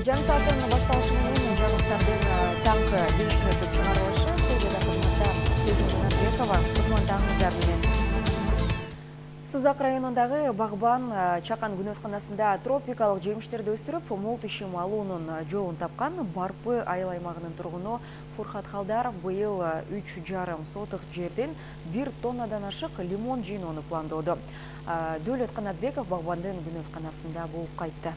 Жаңы сааттын башталышы менен жаңылыктардын таңкы 5 мүнөттүк чыгарылышы студияда кызматта Сезим Жанарбекова. Кутмандаңыздар менен. Сузак районундагы Багбан чакан күнөсканасында тропикалык жемиштерди өстүрүп, мол тишим алуунун жолун тапкан Барпы айыл аймагынын тургуну Фуркат Халдаров быйыл 3,5 сотык жерден 1 тоннадан ашык лимон жыйноону пландоодо. Дөөлөт Канатбеков Багбандын күнөсканасында болуп кайтты.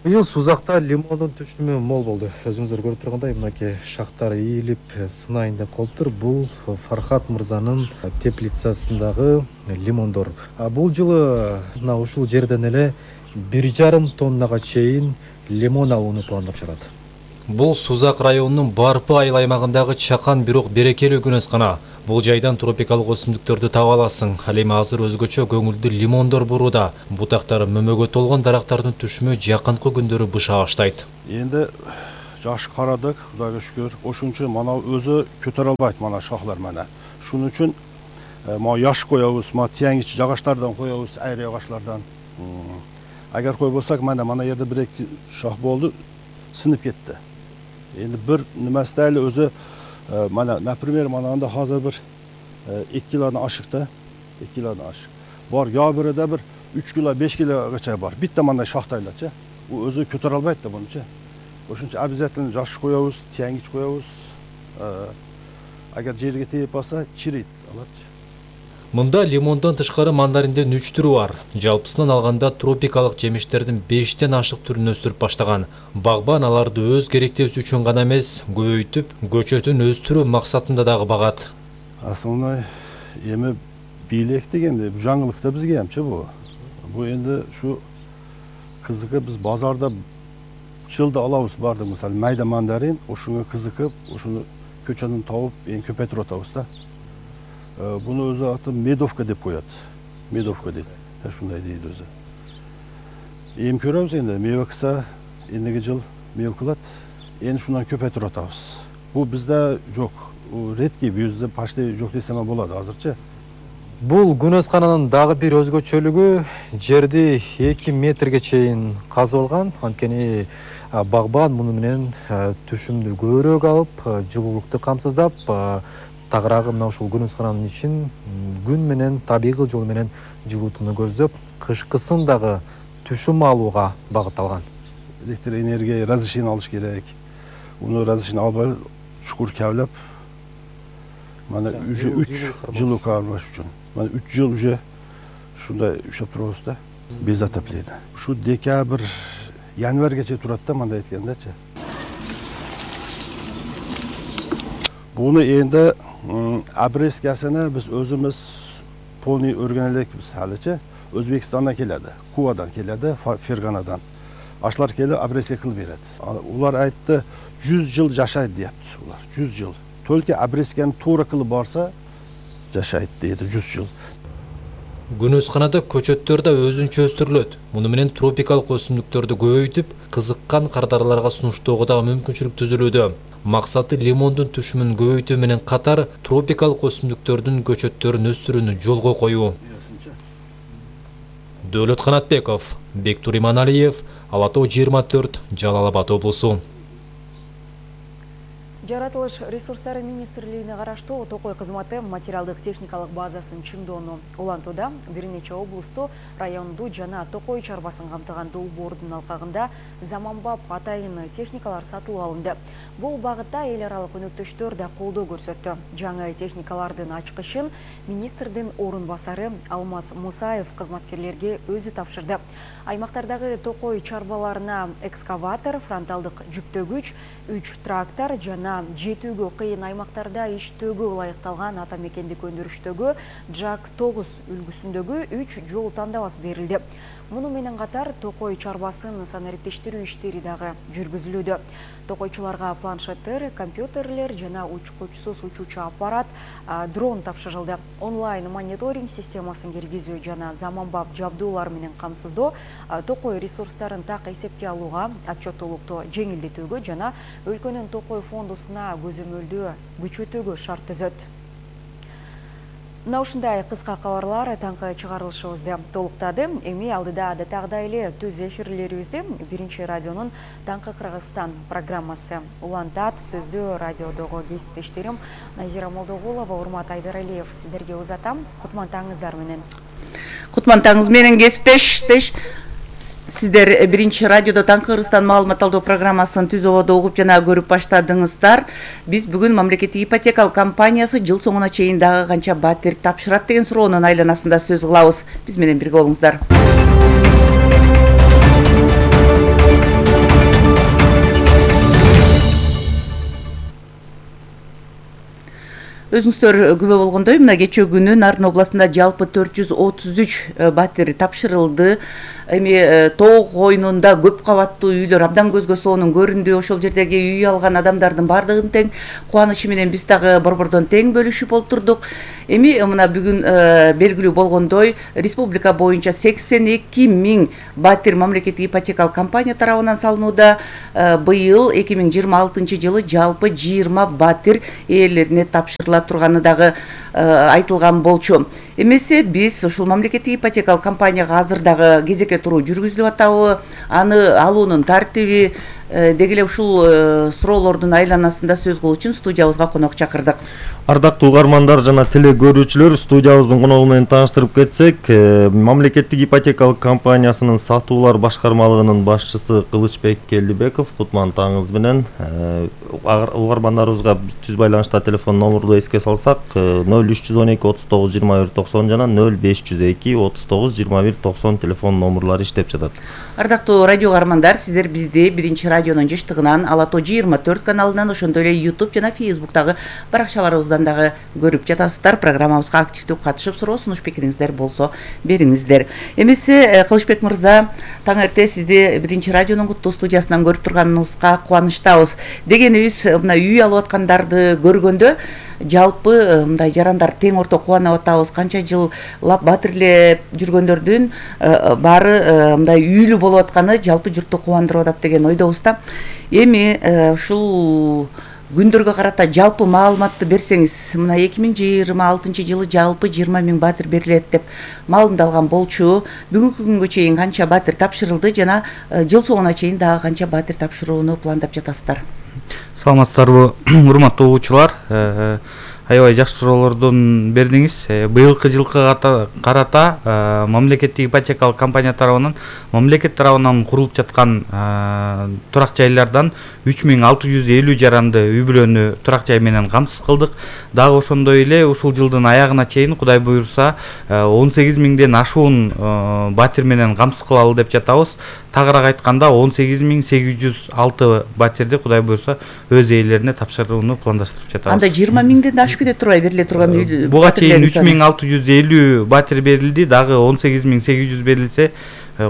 Быйыл Сузакта лимондун түшүмү мол болду. Өзүңүздөр көрүп тургандай, мынакей шактар ийилип, сынайын деп калыптыр. Бул Фархат мырзанын теплицасындагы лимондор. Бул жылы ушул жерден эле 1,5 тоннага чейин лимон алууну пландап чыгат. Бул Сузак районунун Барпы айыл аймагындагы чакан бирок берекелүү күнөскана. Бул жайдан тропикалык өсүмдүктөрдү таба аласың. Ал эми азыр өзгөчө көңүлдүү лимондор бурууда. Бутактары мөмөгө толгон дарактардын түшүмү жакынкы күндөрү быша баштайт. Энди жаш карадык, Кудайга шүгүр. Ошон үчүн мана өзү көтөрө албайт мана шахлар мана. Шунун үчүн ма яш коебуз, ма теңич жагаштардан коебуз, айры агачлардан. Агар койбосак, мана жерде 1-2 шах болду, сынып кетти. Энди бир немеси эле өзү мана, например, анда азыр бир 2 килодан ашык да, 2 килодан ашык. Бар, я бирде бир 3 кило, 5 килогача бар. Битте мындай шахтайларчы. У өзү көтөрө албайт да мунучу. Ошон үчүн обязательно жаш коебуз, теңич коебуз. Агар жерге тийип калса, чирийт алатчы. Мында лимондон тышкары мандариндин 3 түрү бар. Жалпысынан алганда тропикалык жемиштердин 5тен ашык түрүн өстүрүп баштаган. Багбан аларды өз керектөөсү үчүн гана эмес, көбөйтүп, көчөтүн өстүрүү максатында дагы багат. Основной эми бийлик дегенде жаңылыкта бизге эмчи бу. Бу энди ушу кызыгы биз базарда жылда алабыз барды, мисалы майда мандарин, ошуга кызыкып, ошону көчөнүн табып, эң көпөйтүп атабыз да. Буну өзү аты медовка деп коет. Медовка дейт. Ушундай дейт өзү. Эми көрөбүз энди мева кыса, эндиги жыл мева кылат. Эми шундан көпөйтүп атабыз. Бу бизде жок. Редкий, бизде почти жок десем болот азырчы. Бул күнөскананын дагы бир өзгөчөлүгү жерди 2 метрге чейин казылган. Анткени Багбан муну менен түшүмдү көбүрөөк алып, жылуулукту камсыздап, тагыраагы мына ушул күнөскананын ичин күн менен табигый жол менен жылуутууну көздөп, кышкысын дагы түшүм алууга багытталган. Электр энергия разрешение алыш керек. Уну разрешение албай чукур кавлап, мана уже 3 жыл кармаш үчүн. Мана 3 жыл уже ушундай иштеп турабыз да. Без отопления. Ушу декабрь, январьгаче турат да, мындай айткандачы. Буну энди обрезкасына биз өзүбүз полный өргөн элекпиз алычы. Өзбекстандан келеді, Кувадан келеді, Ферганадан. Ашлар келип обрезка кылып берет. Улар айтты, 100 жыл жашайт депти улар. 100 жыл. Только обрезканы туура кылып барса, жашайт дейди 100 жыл. Күнөсканада көчөттөр да өзүнчө өстүрүлөт. Муну менен тропикалык өсүмдүктөрдү көбөйтүп, кызыккан кардарларга сунуштоого дагы мүмкүнчүлүк түзүлүүдө. Максаты лимондун түшүмүн көбөйтүү менен катар тропикалык өсүмдүктөрдүн көчөттөрүн өстүрүүнү жолго коюу. Дөөлөт Канатбеков, Бектур Иманалиев, Ала Тоо 24, Жалал Абад облусу. Жаратылыш ресурстары министрлигине караштуу Токой кызматы материалдык техникалык базасын чыңдоону улантууда. Бир нече облусту, районду жана Токой чарбасын камтыган долбоордун алкагында заманбап атайын техникалар сатылып алынды. Бул багытта эл аралык өнөктөштөр да колдоо көрсөттү. Жаңы техникалардын ачкычын министрдин орун басары Алмаз Мусаев кызматкерлерге өзү тапшырды. Аймактардагы Токой чарбаларына экскаватор, фронталдык жүктөгүч, 3 трактор жана жетүүгө кыйын аймактарда иштөөгө ылайыкталган ата мекендик өндүрүштөгү JAK 9 үлгүсүндөгү 3 жол тандабасы берилди. Муну менен катар Токой чарбасын санариптештирүү иштери дагы жүргүзүлүүдө. Токойчуларга планшеттер, компьютерлер жана учкучсуз учуучу аппарат, дрон тапшырылды. Онлайн мониторинг системасын киргизүү жана заманбап жабдуулар менен камсыздоо Токой ресурстарын так эсепке алууга, отчеттуулукту жеңилдетүүгө жана өлкөнүн Токой фондусуна көзөмөлдөө күчөтүүгө шарт түзөт. Мына ушундай кыска кабарлар таңкы чыгарылышыбызды толуктады. Эми алдыда адаттагыдай эле түз эфирлерибизди Биринчи радионун Таңкы Кыргызстан программасы улантат. Сөздү радиодогу кесиптештерим Назира Молдогулова, Урмат Айдаралиев сиздерге узатам. Кутмантаңыздар менен. Кутмантаңыз менен кесиптеш. Сиздер Биринчи радиодо Таңкы Кыргызстан маалымат алуу программасын түз ободо угуп жана көрүп баштадыңыздар. Биз бүгүн мамлекеттик ипотекалык компаниясы жыл соңуна чейин дагы канча батир тапшырат деген суроонун айланасында сөз кылабыз. Биз менен бирге болуңуздар. Өзүңүздөр күбө болгондой, мына кечээ күнү Нарын областында жалпы 433 батир тапшырылды. Эми тоо койнунда көп кабаттуу үйлөр абдан көзгө сонун көрүндү. Ошол жердеги үй алган адамдардын бардыгын тең кубанышы менен биз дагы борбордон тең бөлүшүп олтурдук. Эми мына бүгүн белгилүү болгондой, республика боюнча 82 000 батир мамлекеттик ипотекалык компания тарабынан салынууда. Быйыл 2026 жылы жалпы 20 батир ээлерине тапшырыла турганы дагы айтылган болчу. Эмесе биз ушул мамлекеттик ипотекалык компанияга азыр дагы кезекке туруу жүргүзүлүп атабы, аны алуунун тартиби деги эле ушул суроолордун айланасында сөз кылуу үчүн студиябызга конок чакырдык. Ардактуу угармандар жана теле көрүүчүлөр, студиябыздын коногу менен тааныштырып кетсек, мамлекеттик ипотекалык компаниясынын сатуулар башкармалыгынын башчысы Кылычбек Келдибеков, кутмантаңыз менен. Угармандарыбызга түз байланышта телефон номурду эске салсак, 0312 39 21 90 жана 0502 39 21 90 телефон номурлары иштеп жатат. Ардактуу радио угармандар, сиздер бизди Биринчи радионун жыштыгынан, Ала Тоо 24 каналынан, ошондой эле YouTube жана Facebook'тагы баракчаларыбыздан дагы көрүп жатасыздар. Программабызга активдүү катышып, суроо сунуш пикириңиздер болсо бериңиздер. Эмесе Кылычбек мырза, таң эрте сизди Биринчи радионун куттуу студиясынан көрүп турганыбызга кубанычтабыз. Дегенибиз, мына үй алып аткандарды көргөндө жалпы мындай жарандар тең орто кубанып атабыз. Канча жыллап батирлеп жүргөндөрдүн баары мындай үйлүү болуп атканы жалпы журтту кубандырып атат деген ойдобуз да. Эми ушул күндөргө карата жалпы маалыматты берсеңиз, мына 2026 жылы жалпы 20 000 батир берилет деп маалымдалган болчу. Бүгүнкү күнгө чейин канча батир тапшырылды жана жыл соңуна чейин дагы канча батир тапшырууну пландап жатасыздар? Саламатсыздарбы, урматтуу угуучулар. Аябай жакшы суроолордун бердиңиз. Быйылкы жылкы карата мамлекеттик ипотекалык компания тарабынан мамлекет тарабынан курулуп жаткан турак жайлардан 3650 жаранды үй бүлөнү турак жай менен камсыз кылдык. Дагы ошондой эле ушул жылдын аягына чейин Кудай буюрса 18 000ден ашуун батир менен камсыз кылалы деп жатабыз. Тагыраак айтканда 18 806 батирди Кудай буюрса өз ээлерине тапшырууну пландаштырып жатабыз. Анда 20 000ден ашып кете турбай бериле турган үй. Буга чейин 3650 батир берилди, дагы 18 800 берилсе,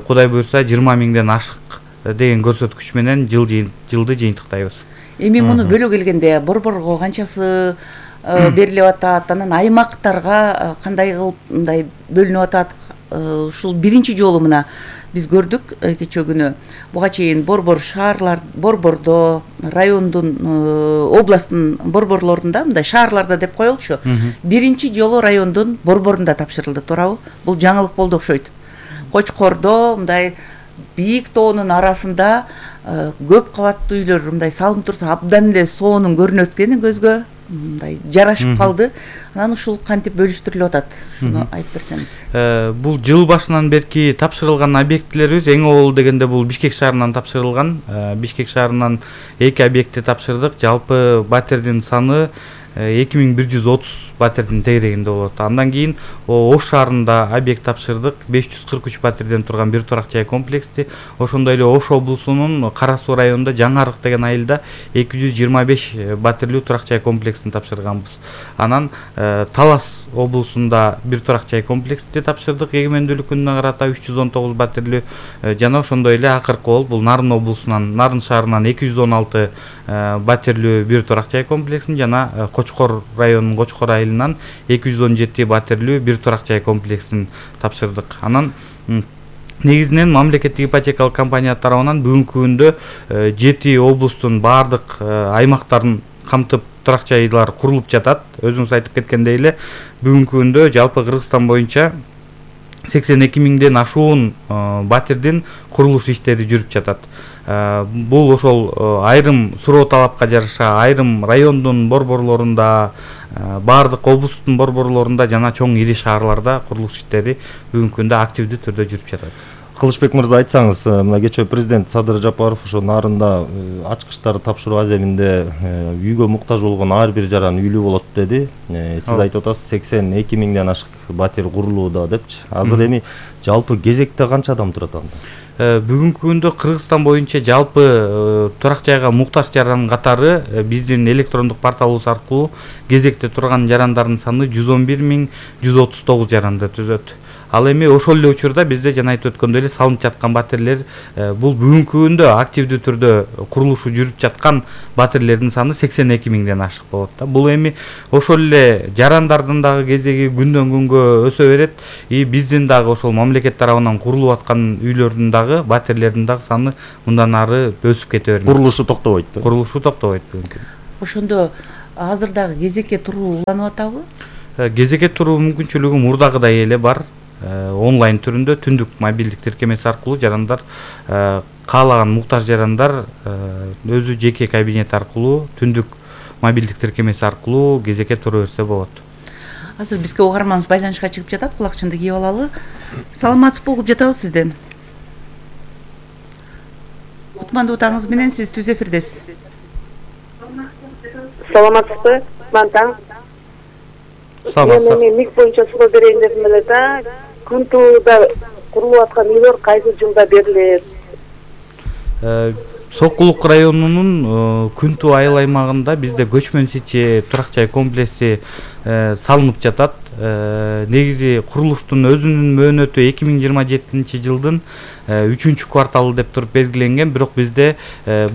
Кудай буюрса 20 000ден ашык деген көрсөткүч менен жылды жыйынтыктайбыз. Эми муну бөлө келгенде борборго канчасы берилип атат, анан аймактарга кандай кылып мындай бөлүнүп атат? Ушул биринчи жолу мына биз көрдүк кечээ күнү. Буга чейин борбордо, райондун, областтын борборлорунда, мындай шаарларда деп коелучу. Биринчи жолу райондун борборунда тапшырылды, туурабы? Бул жаңылык болду окшойт. Кочкордо мындай бийик тоонун арасында көп кабаттуу үйлөр мындай салынып турса абдан эле сонун көрүнөт экен көзгө. Мындай жарашып калды. Анан ушул кантип бөлүштүрүлүп атат? Шуну айтып берсеңиз. Бул жыл башынан берки тапшырылган объектлерибиз эң обол дегенде бул Бишкек шаарынан тапшырылган. Бишкек шаарынан 2 объектти тапшырдык. Жалпы батирдин саны 2130 батирдин тегерегинде болот. Андан кийин Ош шаарында объект тапшырдык. 543 батирден турган бир турак жай комплексти. Ошондой эле Ош облусунун Кара Суу районунда Жаңарык деген айылда 225 батирлүү турак жай комплексин тапшырганбыз. Анан Талас облусунда бир турак жай комплексти тапшырдык. Эгемендүүлүк күнүнө карата 319 батирлүү жана ошондой эле акыркы болуп бул Нарын облусунан, Нарын шаарынан 216 батирлүү бир турак жай комплексин жана Кочкор районунун Кочкор айылынан 217 батирлүү бир турак жай комплексин тапшырдык. Анан негизинен мамлекеттик ипотекалык компания тарабынан бүгүнкү күндө 7 облустун баардык аймактарын камтып турак жайлар курулуп жатат. Өзүңүз айтып кеткендей эле бүгүнкү күндө жалпы Кыргызстан боюнча 82 миңден ашуун батирдин курулуш иштери жүрүп жатат. Бул ошол айрым суроо талапка жараша айрым райондун борборлорунда, баардык облустун борборлорунда жана чоң ири шаарларда курулуш иштери бүгүнкү күндө активдүү түрдө жүрүп жатат. Кылычбек мырза, айтсаңыз, мына кечээ президент Садыр Жапаров ошо нарында ачкычтарды тапшыруу аземинде үйгө муктаж болгон ар бир жаран үйлүү болот деди. Сиз айтып атасыз 82 миңден ашык батир курулууда депчи. Азыр эми жалпы кезекте канча адам турат анда? Бүгүнкү күндө Кыргызстан боюнча жалпы турак жайга муктаж жаран катары биздин электрондук порталыбыз аркылуу кезекте турган жарандардын саны 111.139 жаранды түзөт. Ал эми ошол эле учурда бизде жана айтып өткөндөй эле салынып жаткан батирлер бул бүгүнкү күндө активдүү түрдө курулушу жүрүп жаткан батирлердин саны 82 миңден ашык болот да. Бул эми ошол эле жарандардын дагы кезеги күндөн күнгө өсө берет. Биздин дагы ошол мамлекет тарабынан курулуп аткан үйлөрдүн дагы батирлердин дагы саны мындан ары өсүп кете бермек. Курулушу токтобойт. Курулушу токтобойт бүгүнкү. Ошондо азыр дагы кезекке туруу уланып атабы? Кезекке туруу мүмкүнчүлүгү мурдагыдай эле бар. Онлайн түрүндө түндүк мобилдик тиркемеси аркылуу жарандар каалаган муктаж жарандар өзү жеке кабинет аркылуу түндүк мобилдик тиркемеси аркылуу кезекке тура берсе болот. Азыр бизге угарманыбыз байланышка чыгып жатат, кулакчынды кийип алалы. Саламатсызбы, угуп жатабыз сизди. Кутмандуу таңыңыз менен, сиз түз эфирдесиз. Саламатсызбы, Мантаң. Мен мик боюнча суроо берейин дедим эле да. Күнтууда курулуп аткан үйлөр кайсы жылда берилет? Сокулук районунун Күнтүү айыл аймагында бизде көчмөн сичи турак жай комплекси салынып жатат. Негизи курулуштун өзүнүн мөөнөтү 2027-жылдын 3-кварталы деп туруп белгиленген, бирок бизде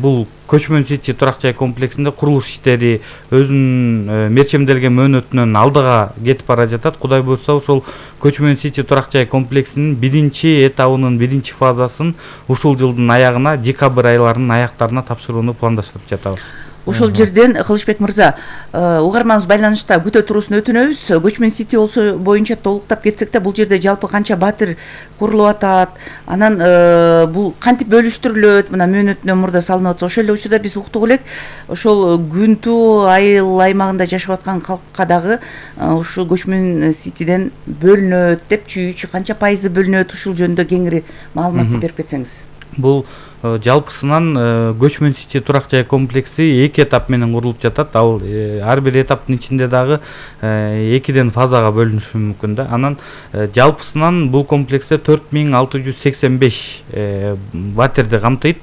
бул көчмөн сичи турак жай комплексинде курулуш иштери өзүнүн мерчемделген мөөнөтүнөн алдыга кетип бара жатат. Кудай буйрса ошол көчмөн сичи турак жай комплексинин биринчи этабынын биринчи фазасын ушул жылдын аягына, декабрь айларынын аяктарына тапшырууну пландаштырып жатабыз. Ошол жерден Кылычбек мырза, угарманыбыз байланышта күтө туруусун өтүнөбүз. Көчмөн сити боюнча толуктап кетсек да, бул жерде жалпы канча батир курулуп атат? Анан бул кантип бөлүштүрүлөт? Мына мөөнөтүнөн мурда салынып атса, ошол эле учурда биз уктук элек, ошол Күнтүү айыл аймагында жашап аткан калкка дагы ушул көчмөн ситиден бөлүнөт депчи, канча пайызы бөлүнөт? Ушул жөнүндө кеңири маалыматты берип кетсеңиз. Бул жалпысынан көчмөн сичи турак жай комплекси 2 этап менен курулуп жатат. Ал ар бир этаптын ичинде дагы 2ден фазага бөлүнүшү мүмкүн да. Анан жалпысынан бул комплексте 4685 батирди камтыйт.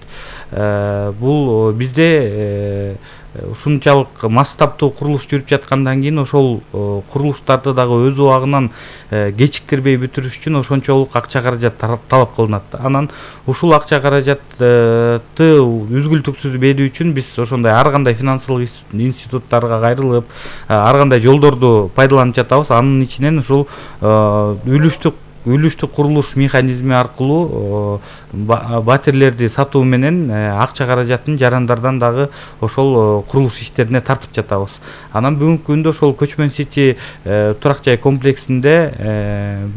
Бул бизде ушунчалык масштабтуу курулуш жүрүп жаткандан кийин ошол курулуштарды дагы өз убагынан кечиктирбей бүтүрүш үчүн ошончолук акча каражат талап кылынат. Анан ушул акча каражатты үзгүлтүксүз берүү үчүн биз ошондой ар кандай финансылык институттарга кайрылып, ар кандай жолдорду пайдаланып жатабыз. Анын ичинен ушул үлүштүк курулуш механизми аркылуу батирлерди сатуу менен акча каражатын жарандардан дагы ошол курулуш иштерине тартып жатабыз. Анан бүгүнкү күндө ошол көчмөн сити турак жай комплексинде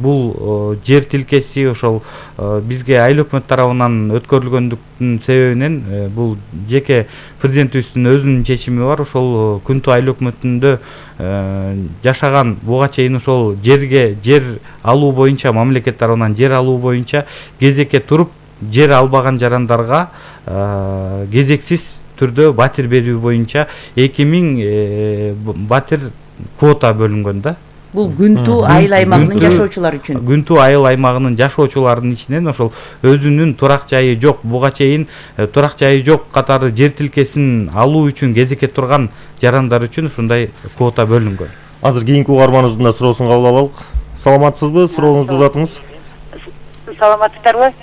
бул жер тилкеси ошол бизге айыл өкмөт тарабынан өткөрүлгөндүктүн себебинен бул жеке президентибиздин өзүнүн чечими бар. Ошол Күнтүү айыл өкмөтүндө жашаган буга чейин ошол жер алуу боюнча, мамлекет тарабынан жер алуу боюнча кезекке туруп жер албаган жарандарга кезексиз түрдө батир берүү боюнча 2000 батир квота бөлүнгөн да. Бул Күнтүү айыл аймагынын жашоочулары үчүн. Күнтүү айыл аймагынын жашоочуларынын ичинен ошол өзүнүн турак жайы жок, буга чейин турак жайы жок катары жер тилкесин алуу үчүн кезекке турган жарандар үчүн ушундай квота бөлүнгөн. Азыр кийинки угарманыбыздын да суроосун кабыл алалык. Саламатсызбы? Сурооңузду узатыңыз. Саламатсыздарбы?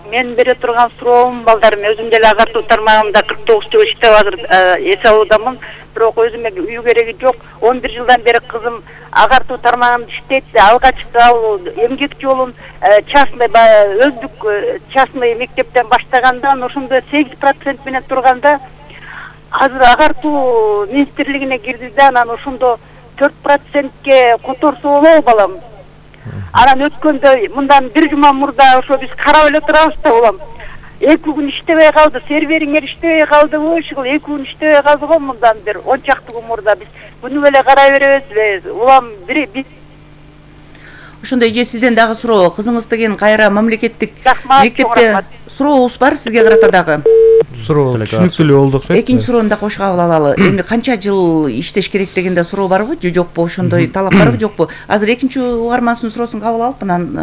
Мен бере турган суроом, балдарым, өзүм деле агартуу тармагында 49 жыл иштеп азыр эс алуудамын. Бирок өзүмө үй кереги жок. 11 жылдан бери кызым агартуу тармагында иштейт. Алгачкы ал эмгек жолун частный өздүк частный мектептен баштагандан ошондо 8% менен турганда азыр агартуу министрлигине кирди да анан ошондо 4%ке которсо болобу балам. Анан өткөндө мындан бир жума мурда ошо биз карап эле турабыз да улам. 2 күн иштебей калды, сервериңер иштебей калдыбы, ушул 2 күн иштебей калды го мындан бир 10 чакты күн мурда биз күнү эле карай беребизби? Улам биз ошондой эже сизден дагы суроо, кызыңыз деген кайра мамлекеттик Рахмат, мектепте рахмат. сурообуз бар сизге карата дагы. суроо түшүнүктүү болду окшойт. Экинчи суроону да кошуп алалы. Эми канча жыл иштеш керек дегенде суроо барбы же жокпу? Ошондой талап барбы жокпу? Азыр экинчи угармандын суроосун кабыл алып, анан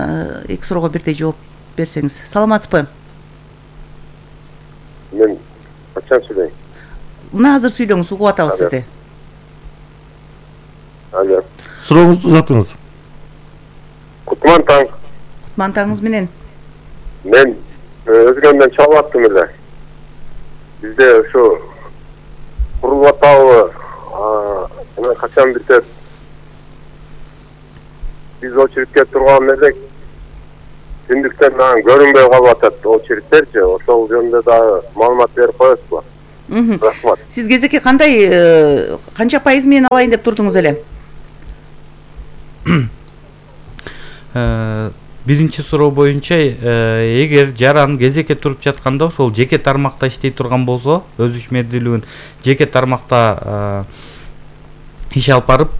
эки суроого бирдей жооп берсеңиз. Саламатсызбы? Мен качан сүйлөйм? Мына азыр сүйлөңүз, угуп атабыз сизди. Алло. Сурооңузду узатыңыз. Кутман таң. Мантаңыз менен. Мен өзгөндөн чалып аттым эле. Бизде ошо курулуп атабы, мына качан битет? Биз очередке турган элек. Түндүктөн анан көрүнбөй калып атат очередтерчи. Ошол жөнүндө дагы маалымат берип коесузбу? Рахмат. Сиз кезекке кандай канча пайыз менен алайын деп турдуңуз эле? Биринчи суроо боюнча эгер жаран кезекке туруп жатканда ошол жеке тармакта иштей турган болсо, өз ишмердүүлүгүн жеке тармакта иш алып барып,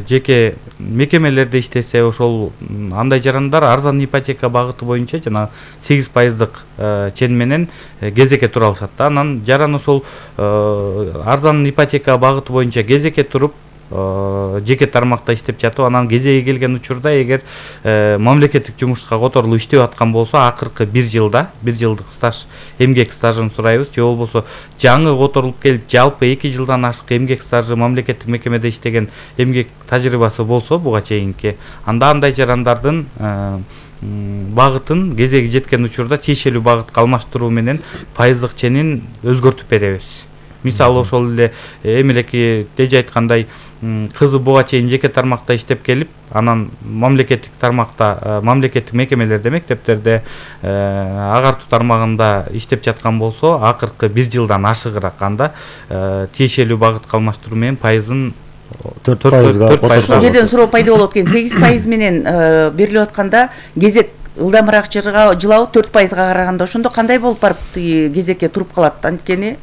жеке мекемелерде иштесе, ошол андай жарандар арзан ипотека багыты боюнча жана 8% чен менен кезекке тура алышат да. Анан жаран ошол арзан ипотека багыты боюнча кезекке туруп жеке тармакта иштеп жатып, анан кезеги келген учурда эгер мамлекеттик жумушка которулуп иштеп аткан болсо, акыркы 1 жылда 1 жылдык стаж, эмгек стажын сурайбыз. Же болбосо жаңы которулуп келип, жалпы 2 жылдан ашык эмгек стажы, мамлекеттик мекемеде иштеген эмгек тажрыйбасы болсо буга чейинки, анда андай жарандардын багытын кезеги жеткен учурда тиешелүү багытка алмаштыруу менен пайыздык ченин өзгөртүп беребиз. Мисалы ошол эле эмелеки эже айткандай, кызы буга чейин жеке тармакта иштеп келип, анан мамлекеттик тармакта, мамлекеттик мекемелерде, мектептерде, агартуу тармагында иштеп жаткан болсо, акыркы 1 жылдан ашыгыраак анда тиешелүү багытка алмаштыруу менен пайызын 4%. Ошол жерден суроо пайда болот экен. 8% менен берилип атканда кезек ылдамыраак жылабы 4%га караганда ошондо кандай болуп барып кезекке туруп калат? Анткени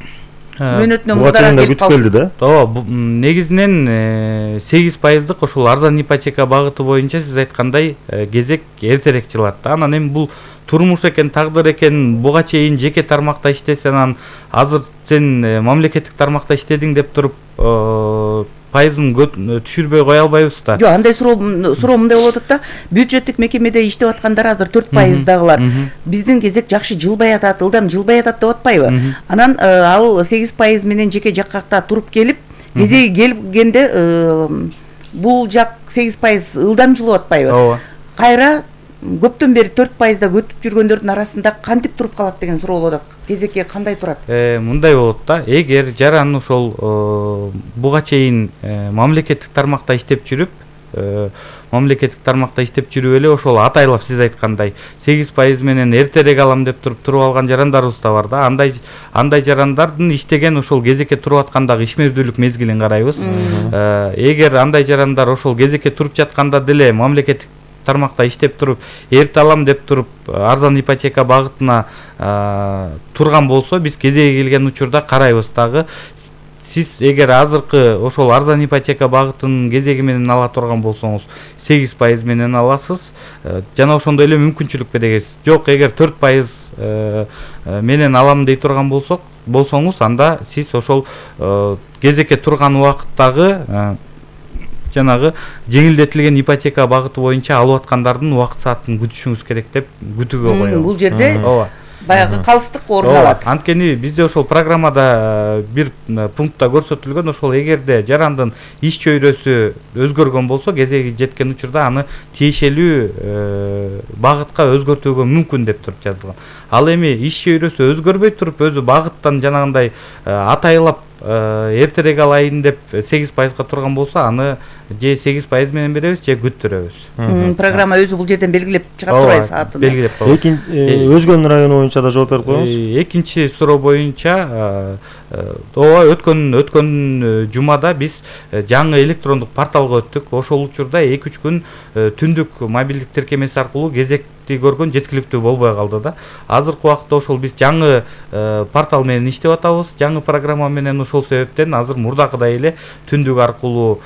мөөнөтүнөн мурдараак келип келди да. Ооба, негизинен 8%дык ошол арзан ипотека багыты боюнча сиз айткандай кезек эртерээк жылат да. Анан эми бул турмуш экен, тагдыр экен, буга чейин жеке тармакта иштесең, анан азыр сен мамлекеттик тармакта иштедиң деп туруп пайызын түшүрбөй кое албайбыз да. Жок, андай суроо мындай болуп атат да. Бюджеттик мекемеде иштеп аткандар азыр 4% дагылар. Биздин кезек жакшы жылбай атат, ылдам жылбай атат деп атпайбы? Анан ал 8% менен жеке жаккакта туруп келип, кезеги келгенде бул жак 8% ылдам жылып атпайбы? Ооба. Кайра көптөн бери 4%да өтүп жүргөндөрдүн арасында кантип туруп калат деген суроо болот. Кезекке кандай турат? Мындай болот да. Эгер жаран ошол буга чейин мамлекеттик тармакта иштеп жүрүп, эле ошол атайлап сиз айткандай 8% менен эртерээк алам деп туруп алган жарандарыбыз да бар да. Андай жарандардын иштеген ошол кезекке туруп аткандагы ишмердүүлүк мезгилин карайбыз. Эгер андай жарандар ошол кезекке туруп жатканда деле мамлекеттик тармакта иштеп туруп, эрте алам деп туруп арзан ипотека багытына турган болсо, биз кезеги келген учурда карайбыз дагы. Сиз эгер азыркы ошол арзан ипотека багытын кезеги менен ала турган болсоңуз, 8% менен аласыз. Жана ошондой эле мүмкүнчүлүк беребиз. Жок, эгер 4% менен алам дей турган болсоңуз, анда сиз ошол кезекке турган убакыттагы жанагы жеңилдетилген ипотека багыты боюнча алып аткандардын убакыт саатын күтүшүңүз керек деп күтүүгө коебуз. Бул жерде баягы калыстык орун алат. Анткени бизде ошол программада бир пунктта көрсөтүлгөн, ошол эгерде жарандын иш чөйрөсү өзгөргөн болсо, кезеги жеткен учурда аны тиешелүү багытка өзгөртүүгө мүмкүн деп туруп жазылган. Ал эми иш чөйрөсү өзгөрбөй туруп, өзү багыттан жанагындай атайлап эртерээк алайын деп 8%га турган болсо, аны же 8% менен беребиз, же күттүрөбүз. Программа өзү бул жерден белгилеп чыгат турбайбы саатын? Белгилеп коебуз. Өзгөн району боюнча да жооп берип коюңуз. Экинчи суроо боюнча ооба өткөн жумада биз жаңы электрондук порталга өттүк. Ошол учурда 2-3 күн түндүк мобилдик тиркемеси аркылуу кезекти көргөн жеткиликтүү болбой калды да. Азыркы убакытта ошол биз жаңы портал менен иштеп атабыз, жаңы программа менен. Ошол себептен азыр мурдакыдай эле түндүк аркылуу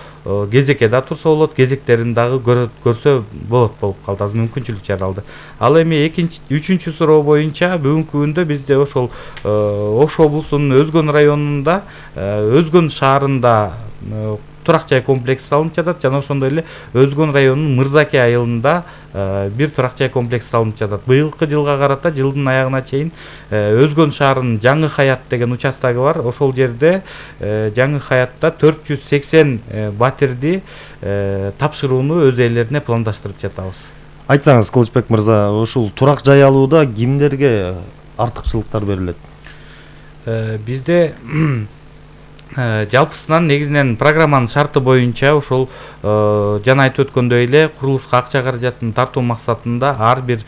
кезекке да турса болот, кезектерин дагы көрсө болот болуп калды. Азыр мүмкүнчүлүк жаралды. Ал эми үчүнчү суроо боюнча бүгүнкү күндө бизде ошол Ош облусунун Өзгөн районунда, Өзгөн шаарында турак жай комплекси салынып жатат жана ошондой эле Өзгөн районунун Мырзаке айылында бир турак жай комплекси салынып жатат. Быйылкы жылга карата жылдын аягына чейин Өзгөн шаарынын Жаңы Хаят деген участогу бар. Ошол жерде Жаңы Хаятта 480 батирди тапшырууну өз ээлерине пландаштырып жатабыз. Айтсаңыз, Кылычбек мырза, ушул турак жай алууда кимдерге артыкчылыктар берилет? Бизде жалпысынан негизинен программанын шарты боюнча ошол жана айтып өткөндөй эле курулушка акча каражатын тартуу максатында ар бир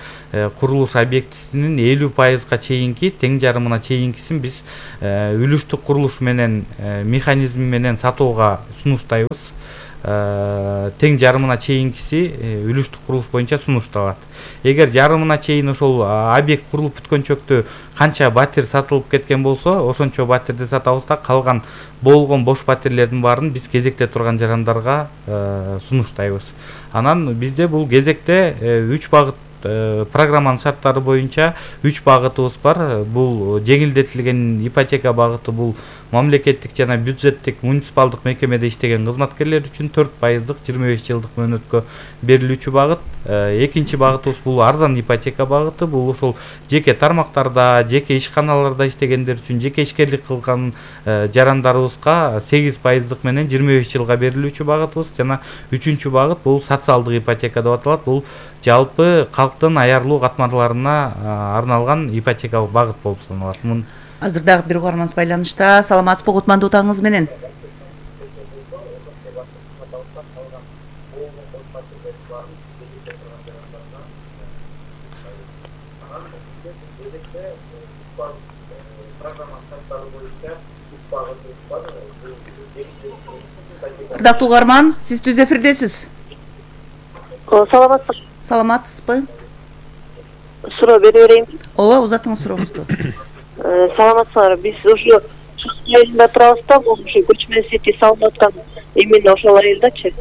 курулуш объектисинин 50%га чейинки, тең жарымына чейинкисин биз үлүштүк курулуш менен механизм менен сатууга сунуштайбыз. Тең жарымына чейинкиси үлүштүк курулуш боюнча сунушталат. Эгер жарымына чейин ошол объект курулуп бүткөнчөктө канча батир сатылып кеткен болсо, ошончо батирди сатабыз да, калган болгон бош батирлердин баарын биз кезекте турган жарандарга сунуштайбыз. Анан бизде бул кезекте 3 багыт программанын шарттары боюнча 3 багытыбыз бар. Бул жеңилдетилген ипотека багыты, бул мамлекеттик жана бюджеттик муниципалдык мекемеде иштеген кызматкерлер үчүн 4%, 25 жылдык мөөнөткө берилүүчү багыт. Экинчи багытыбыз бул арзан ипотека багыты. Бул ошол жеке тармактарда, жеке ишканаларда иштегендер үчүн, жеке ишкерлик кылган жарандарыбызга 8% менен 25 жылга берилүүчү багытыбыз. Жана үчүнчү багыт бул социалдык ипотека деп аталат. Бул жалпы калктын аярлуу катмарларына арналган ипотекалык багыт болуп саналат. Азыр дагы бир угарманыбыз байланышта. Саламатсызбы, кутмандуу таңыңыз менен. Ырдактуу угарман, сиз түз эфирдесиз. Саламатсызбы? Саламатсызбы? Суроо бере берейин. Ооба, узатыңыз сурооңузду. Саламатсыздар. Биз ушу айылда турабыз да, бул ушу көчмө сети салынып аткан именно ошол айылдачы.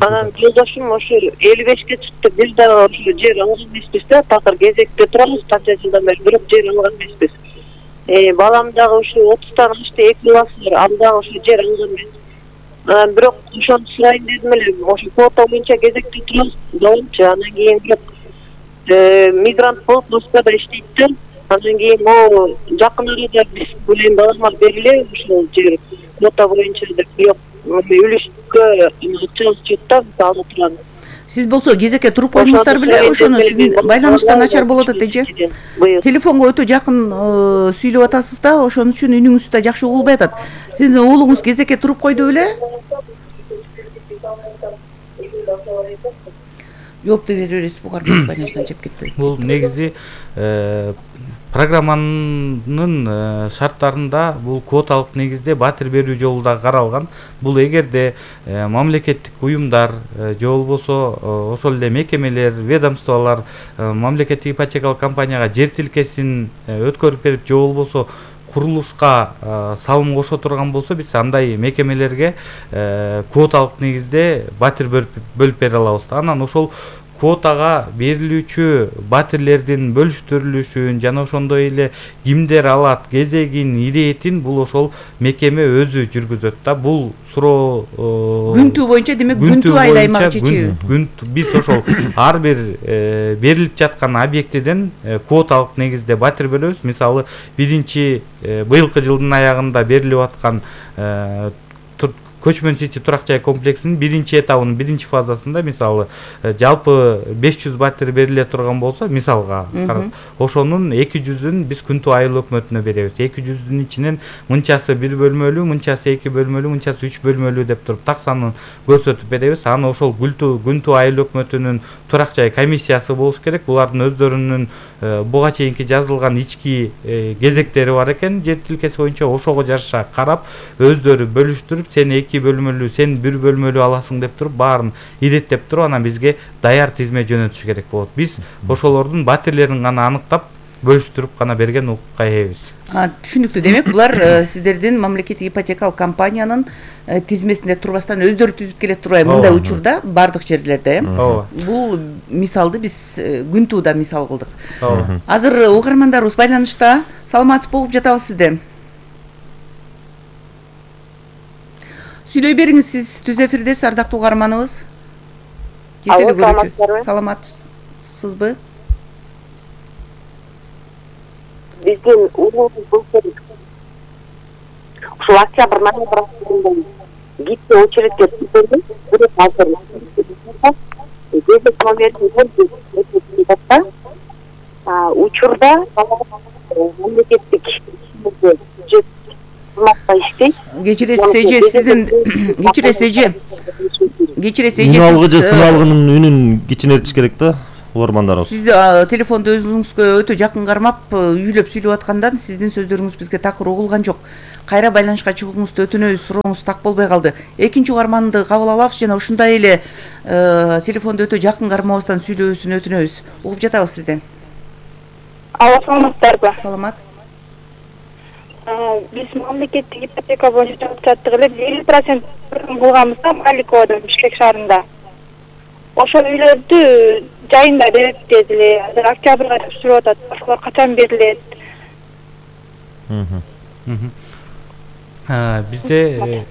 Анан жолдошум ошо 55-ке чыкты. Биз дагы ошо жер алган эмеспиз да, такыр кезекте турабыз, канча жылдан бери, бирок жер алган эмеспиз. Балам дагы ушу 30-тан ашты, 2 баласы бар, ал дагы ошо жер алган эмес. Бирок ошону сурайын дедим эле, ошо квота боюнча кезекте турабыз, баламчы. Анан кийин бирок мигрант болуп Москвада иштейт да. Андан кийин могу жакын арада биз менен балама бериле ушул жер квота боюнча деп, бирок үлүшкө чыгып да ала турган. Сиз болсо кезекке туруп койдуңуздар беле, ошону сиздин байланыштан начар болот эже. Телефонго өтө жакын сүйлөп атасыз да, ошон үчүн үнүңүз да жакшы угулбай атат. Сиздин уулуңуз кезекке туруп койду беле? Жок деп беребиз, бугарман байланыштан чеп кетти. Бул негизи программанын шарттарында бул квоталык негизде батир берүү жолу да каралган. Бул эгерде мамлекеттик уюмдар же болбосо ошол эле мекемелер, ведомстволор мамлекеттик ипотекалык компанияга жер тилкесин өткөрүп берип же болбосо курулушка салым кошо турган болсо, биз андай мекемелерге квоталык негизде батир бөлүп бере алабыз. Анан ошол квотага берилүүчү батирлердин бөлүштүрүлүшүн жана ошондой эле кимдер алат, кезегин, иретин бул ошол мекеме өзү жүргүзөт да. Бул суроо күнтүү боюнча, демек күнтүү айыл аймак чечеби. Биз ошол ар бир берилип жаткан объектиден квоталык негизде батир беребиз. Мисалы, биринчи быйылкы жылдын аягында берилип аткан Көчмөн Сити турак жай комплексинин биринчи этабынын биринчи фазасында мисалы жалпы 500 батир бериле турган болсо, мисалга карап, ошонун 200-ün биз Күнтүү айыл өкмөтүнө беребиз. 200-ün ичинен мынчасы 1 бөлмөлүү, мынчасы 2 бөлмөлүү, мынчасы 3 бөлмөлүү деп туруп так санын көрсөтүп беребиз. Аны ошол Күнтүү айыл өкмөтүнүн турак жай комиссиясы болуш керек. Булардын өздөрүнүн буга чейинки жазылган ички кезектери бар экен, жер тилкеси боюнча ошого жараша карап, өздөрү бөлүштүрүп, сен 2 бөлмөлүү, сен 1 бөлмөлүү аласың деп туруп, баарын иреттеп туруп, анан бизге даяр тизме жөнөтүш керек болот. Биз ошолордун батирлерин гана аныктап, бөлүштүрүп гана берген укукка ээбиз. Түшүнүктүү. Демек, булар сиздердин мамлекеттик ипотекалык компаниянын тизмесинде турбастан өздөрү түзүп келет турбайбы мындай учурда бардык жерлерде. Бул мисалды биз Күнтүүда мисал кылдык. Азыр угармандарыбыз байланышта. Саламатсызбы, угуп жатабыз сизди. Сүйлөй бериңиз, сиз түз эфирдесиз, ардактуу угарманыбыз. Саламатсызбы? Биздин улуубуз болсо ушул октябрь ноябрь гипте очередке түзүлдү. Бирок азыр кезек номерин учурда мамлекеттик иштейт. Кечиресиз Үналгы сыналгынын үнүн кичинертиш керек да. Сиз телефонду өзүңүзгө өтө жакын кармап, үйлөп сүйлөп аткандан сиздин сөздөрүңүз бизге такыр угулган жок. Кайра байланышка чыгууңузду өтүнөбүз, сурооңуз так болбой калды. Экинчи угарманды кабыл алабыз жана ушундай эле телефонду өтө жакын кармабастан сүйлөөсүн өтүнөбүз. Угуп жатабыз сизден. Алло, саламатсыздарбы? Саламат. Биз мамлекеттик ипотека боюнча жалпы жаттык эле 50% кылганбыз да Маликовадан, Бишкек шаарында. Ошол үйлөрдү жайында берет дедиле. Азыр октябрга түшүрүп атат. Ошолор качан берилет? Бизде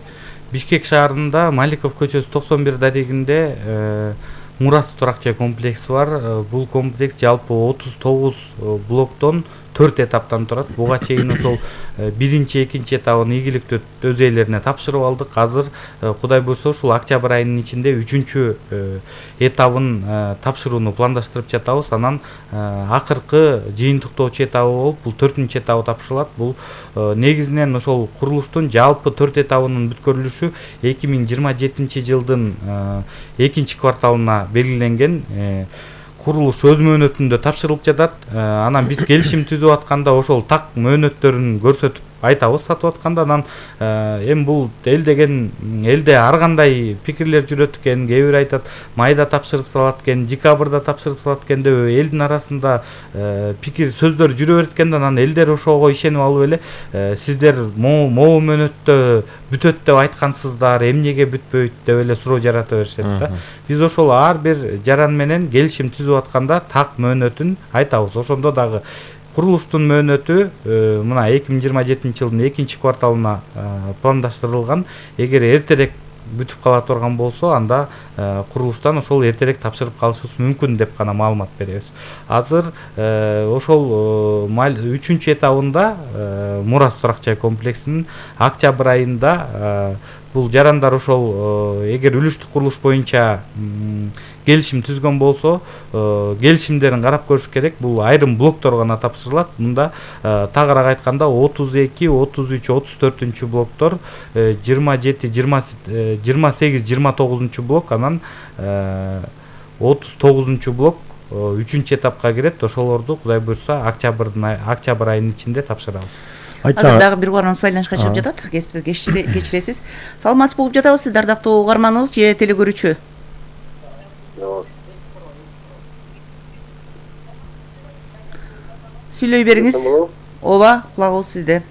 Бишкек шаарында Маликов көчөсү 91 дарегинде Мурас турак жай комплекси бар. Бул комплекс жалпы 39 блоктон 4 этаптан турат. Буга чейин ошол биринчи, экинчи этабын ийгиликтүү өз ээлерине тапшырып алдык. Азыр Кудай буйрса ушул октябрь айынын ичинде 3-чү этабын тапшырууну пландаштырып жатабыз. Анан акыркы жыйынтыктоочу этабы болуп, бул 4-чү этабы тапшырылат. Бул негизинен ошол курулуштун жалпы 4 этабынын бүткөрүлүшү 2027-жылдын 2-чи кварталына белгиленген. Курулуш өз мөөнөтүндө тапшырылып жатат. Анан биз келишим түзүп атканда ошол так мөөнөттөрүн көрсөтүп айтабыз сатып атканда. Анан эми бул элде ар кандай пикирлер жүрөт экен. Кээ бир айтат майда тапшырып салат экен, декабрда тапшырып салат экен деп элдин арасында пикир сөздөр жүрө берет экен. Анан элдер ошого ишенип алып эле сиздер могу мөөнөттө бүтөт деп айткансыздар, эмнеге бүтпөйт деп эле суроо жарата беришет да. Биз ошол ар бир жаран менен келишим түзүп атканда так мөөнөтүн айтабыз. Ошондо дагы курулуштун мөөнөтү мына 2027-жылдын 2-чи кварталына пландаштырылган. Эгер эртерээк бүтүп кала турган болсо, анда курулуштан ошол эртерээк тапшырып калышыбыз мүмкүн деп гана маалымат беребиз. Азыр ошол 3-чү этабында Мурас турак жай комплексинин октябрь айында бул жарандар ошол эгер үлүштүк курулуш боюнча келишим түзгөн болсо, келишимдерин карап көрүш керек. Бул айрым блоктор гана тапшырылат. Мында тагыраак айтканда 32, 33, 34-чү блоктор, 27, 28, 29-чу блок, анан 39-чу блок 3-чү этапка кирет. Ошолорду Кудай буйрса октябрь айынын ичинде тапшырабыз. Азыр дагы бир угарманыбыз байланышка чыгып жатат. Кечиресиз. Саламатсызбы, угуп жатабыз, сиз ардактуу угарманыбыз же телекөрүүчү? Сүйлөй бериңиз. Ооба, кулагыбыз сизде.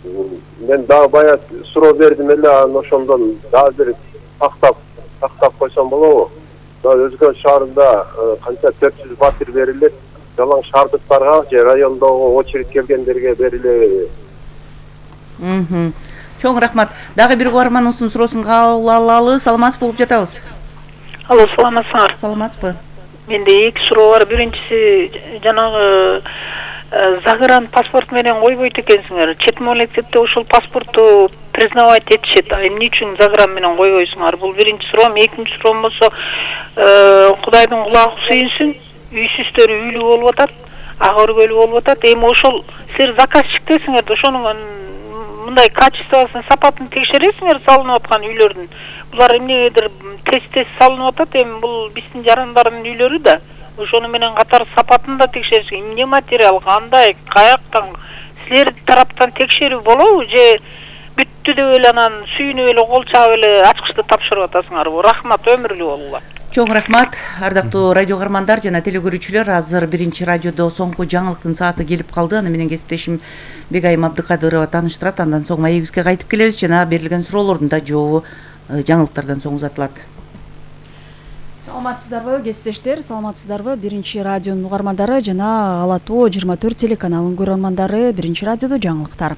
Мен дагы бая суроо бердим эле, анан ошондон дагы бир тактап койсом болобу? Өзгө шаарында канча 400 батир берилет, жалаң шаардыктарга же райондогу очередь келгендерге берилеби? Чоң рахмат. Дагы бир угарманыбыздын суроосун кабыл алалы. Саламатсызбы, угуп жатабыз. Алло, саламатсыңар? Саламатсызбы. Менде 2 суроо бар. Биринчиси, жанагы загран паспорт менен койбойт экенсиңер. Чет мамлекетте ошол паспортту признавать этишет. Эмне үчүн заграм менен койбойсуңар? Бул биринчи суроом. Экинчи суроом болсо, Кудайдын кулагы сүйүнсүн, үйсүздөр үйлүү болуп атат, ак өргөлүү болуп атат. Эми ошол силер заказчиктесиңер да ошонун мындай качествосын, сапатын текшересиңер салынып аткан үйлөрдүн. Булар эмнегедир тез салынып атат. Эми бул биздин жарандардын үйлөрү да. Ошону менен катар сапатын да текшериш. Эмне материал, кандай, каяктан силер тараптан текшерүү болобу же бүттү деп эле анан сүйүнүп эле кол чаап эле ачкычты тапшырып атасыңарбы? Рахмат, өмүрлүү болуңар. Чоң рахмат, ардактуу радио каармандар жана телекөрүүчүлөр. Азыр биринчи радиодо соңку жаңылыктын сааты келип калды. Аны менен кесиптешим Бегайым Абдыкадырова тааныштырат. Андан соң маегибизге кайтып келебиз жана берилген суроолордун да жообу жаңылыктардан соң узатылат. Саламатсыздарбы, кесиптештер, саламатсыздарбы? Биринчи радионун угармандары жана Ала Тоо 24 телеканалынын көрөрмандары, биринчи радиодо жаңылыктар.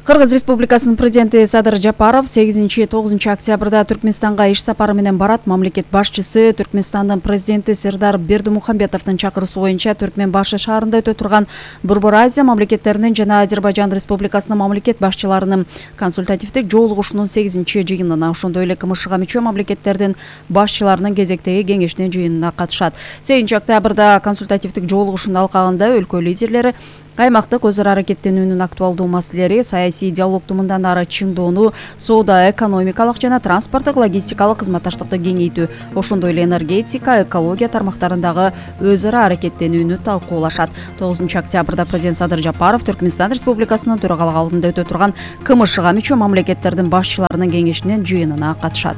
Кыргыз Республикасынын президенти Садыр Жапаров 8-9 октябрда Түркмөнстанга иш сапары менен барат. Мамлекет башчысы Түркмөнстандын президенти Сердар Бердимухамбетовдун чакыруусу боюнча Түркмөн башы шаарында өтө турган Борбор Азия мамлекеттеринин жана Азербайжан Республикасынын мамлекет башчыларынын консультативдик жолугушуунун 8-жыйынына, ошондой эле КМШга мүчө мамлекеттердин башчыларынын кезектеги кеңешинин жыйынына катышат. 8 октябрда консультативдик жолугушуунун алкагында өлкө лидерлери аймактык өз ара аракеттенүүнүн актуалдуу маселелери, саясий диалогду мындан ары чыңдоону, соода, экономикалык жана транспорттук логистикалык кызматташтыкты кеңейтүү, ошондой эле энергетика, экология тармактарындагы өз ара аракеттенүүнү талкуулашат. 9 октябрда президент Садыр Жапаров Түркмөнстан Республикасынын төрагалыгы алдында өтө турган КМШга мүчө мамлекеттердин башчыларынын кеңешинин жыйынына катышат.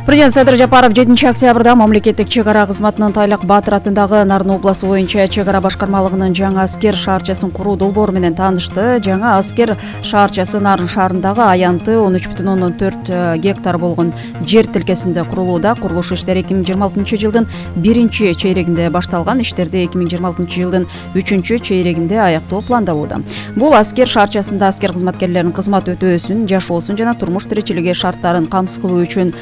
Президент Садыр Жапаров 7 октябрда мамлекеттик чек ара кызматынын Тайлак Батыр атындагы Нарын областы боюнча чек ара башкармалыгынын жаңы аскер шаарчасын куруу долбоору менен таанышты. Жаңы аскер шаарчасы Нарын шаарындагы аянты 13,4 гектар болгон жер тилкесинде курулууда. Курулуш иштери 2026 жылдын 1 чейрегинде башталган. Иштерди 2026 жылдын 3 чейрегинде аяктоо пландалууда. Бул аскер шаарчасында аскер кызматкерлеринин кызмат өтөөсүн, жашоосун жана турмуш тиричилиги шарттарын камсыз кылуу үчүн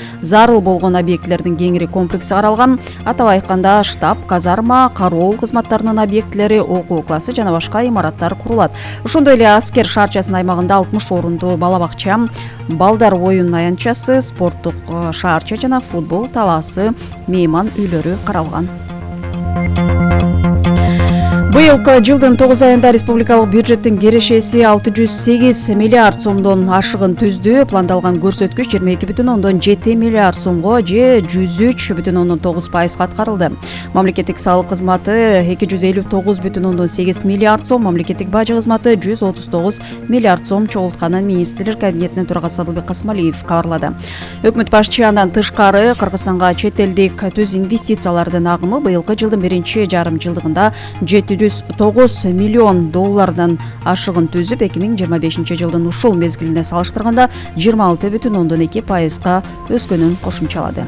болгон объектилердин кеңири комплекси каралган. Атап айтканда штаб, казарма, кароол кызматтарынын объектилери, окуу классы жана башка имараттар курулат. Ошондой эле аскер шаарчасынын аймагында 60 орундуу бала бакча, балдар оюн аянтчасы, спорттук шаарча жана футбол талаасы, мейман үйлөрү каралган. Быйылкы жылдын 9 айында республикалык бюджеттин кирешеси 608 миллиард сомдон ашыгын түздү. Пландалган көрсөткүч 22,7 миллиард сомго же 103,9% аткарылды. Мамлекеттик салык кызматы 259,8 миллиард сом, мамлекеттик бажы кызматы 139 миллиард сом чогултканын министрлер кабинетинин төрагасы Адылбек Касмалиев кабарлады. Өкмөт башчы андан тышкары Кыргызстанга чет элдик түз инвестициялардын агымы быйылкы жылдын биринчи жарым жылдыгында 709 миллион доллардан ашыгын түзүп, 2025 жылдын ушул мезгилине салыштырганда 26,2%га өскөнүн кошумчалады.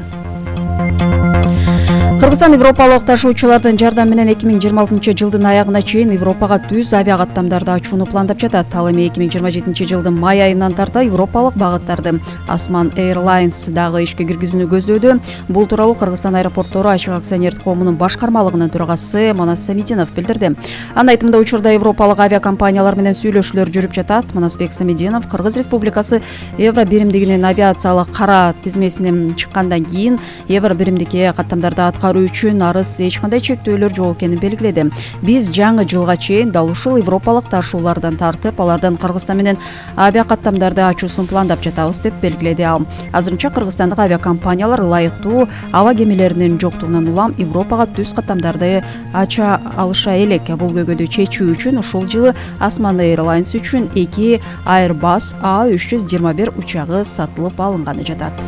Кыргызстан европалык ташуучулардын жардамы менен 2026 жылдын аягына чейин Европага түз авиакаттамдарды ачууну пландап жатат. Ал эми 2027 жылдын май айынан тарта европалык багыттарды Осман Airlines дагы ишке киргизүүнү көздөдү. Бул тууралуу Кыргызстан аэропорттору ачык акционердик коомунун башкармалыгынын төрагасы Манас Самидинов билдирди. Анын айтымында учурда европалык авиакомпаниялар менен сүйлөшүүлөр жүрүп жатат. Манасбек Самидинов Кыргыз Республикасы Евро биримдигинин авиациялык кара тизмесинен чыккандан кийин Евро биримдикке каттамдарды аткаруу үчүн арыз эч кандай чектөөлөр жок экенин белгиледи. Биз жаңы жылга чейин дал ушул европалык ташуулардан тартып, алардан Кыргызстан менен авиакаттамдарды ачуусун пландап жатабыз деп белгиледи ал. Азырынча кыргызстандык авиакомпаниялар ылайыктуу аба кемелеринин жоктугунан улам Европага түз каттамдарды ача алыша элек. Бул көйгөйдү чечүү үчүн ушул жылы Osman Airlines үчүн 2 Airbus A321 учагы сатылып алынганы жатат.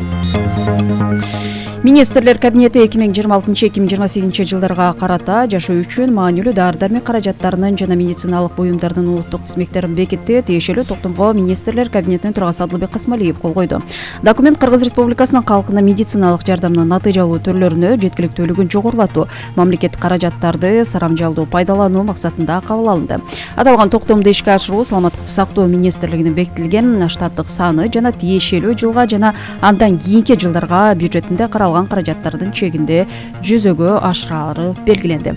Министрлер кабинети 2026-2028 жылдарга карата жашоо үчүн маанилүү дары-дармек каражаттарынын жана медициналык буюмдардын улуттук тизмектерин бекитти. Тиешелүү токтомго министрлер кабинетинин төрагасы Адылбек Касмалиев кол койду. Документ Кыргыз Республикасынын калкына медициналык жардамдын натыйжалуу түрлөрүнө жеткиликтүүлүгүн жогорулатуу, мамлекеттик каражаттарды сарамжалдуу пайдалануу максатында кабыл алынды. Аталган токтомду ишке ашыруу саламаттыкты сактоо министрлигинин бекитилген штаттык саны жана тиешелүү жылга жана андан кийинки жылдарга бюджетинде каралган калган каражаттардын чегинде жүзөгө ашырары белгиленди.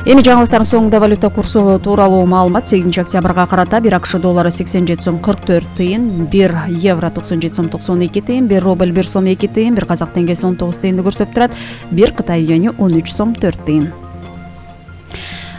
Эми жаңылыктардын соңунда валюта курсу тууралуу маалымат. 8 октябрга карата 1 АКШ доллары 87 сом 44 тыйын, 1 евро 97 сом 92 тыйын, 1 рубль 1 сом 2 тыйын, 1 казак теңгеси 19 тыйынды көрсөтүп турат, 1 Кытай юани 13 сом 4 тыйын.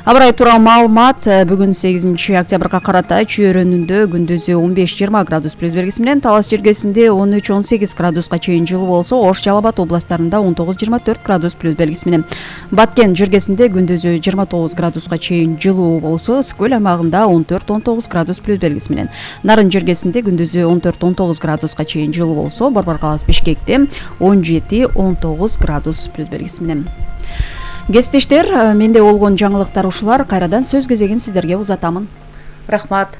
Абрай тууралуу маалымат. Бүгүн 8 октябрга карата чөйрөнүндө күндүзү 15-20 градус плюс белгиси менен, Талас жергесинде 13-18 градуска чейин жылуу болсо, Ош, Жалал Абад областарында 19-24 градус плюс белгиси менен. Баткен жергесинде күндүзү 29 градуска чейин жылуу болсо, Ысык-Көл аймагында 14-19 градус плюс белгиси менен. Нарын жергесинде күндүзү 14-19 градуска чейин жылуу болсо, Борбор каласы Бишкекте 17-19 градус плюс белгиси менен. Кесиптештер, менде болгон жаңылыктар ушулар. Кайрадан сөз кезегин сиздерге узатамын. Рахмат.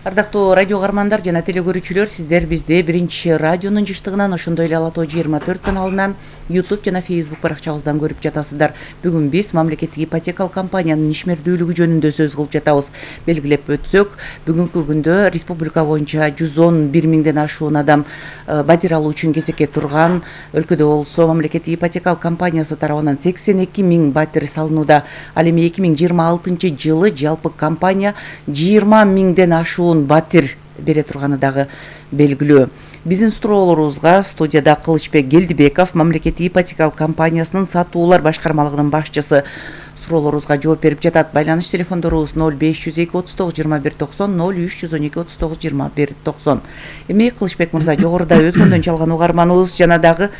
Ардактуу радио каармандар жана телегөрүүчүлөр, сиздер бизди биринчи радионун жыштыгынан, ошондой эле Ала Тоо 24 каналынан, YouTube жана Facebook баракчабыздан көрүп жатасыздар. Бүгүн биз мамлекеттик ипотекалык компаниянын ишмердүүлүгү жөнүндө сөз кылып жатабыз. Белгилеп өтсөк, бүгүнкү күндө республика боюнча 111 миңден ашуун адам батир алуу үчүн кезекке турган. Өлкөдө болсо мамлекеттик ипотекалык компаниясы тарабынан 82 миң батир салынууда. Ал эми 2026 жылы жалпы компания 20 миңден ашуун батир бере турганы дагы белгилүү. Биздин суроолорубузга студияда Кылычбек Келдибеков, мамлекеттик ипотекалык компаниясынын сатуулар башкармалыгынын башчысы, суроолорубузга жооп берип жатат. Байланыш телефондорубуз 0502 39 21 90, 0312 39 21 90. Эми Кылычбек мырза, жогоруда өзгөндөн чалган угарманыбыз жана дагы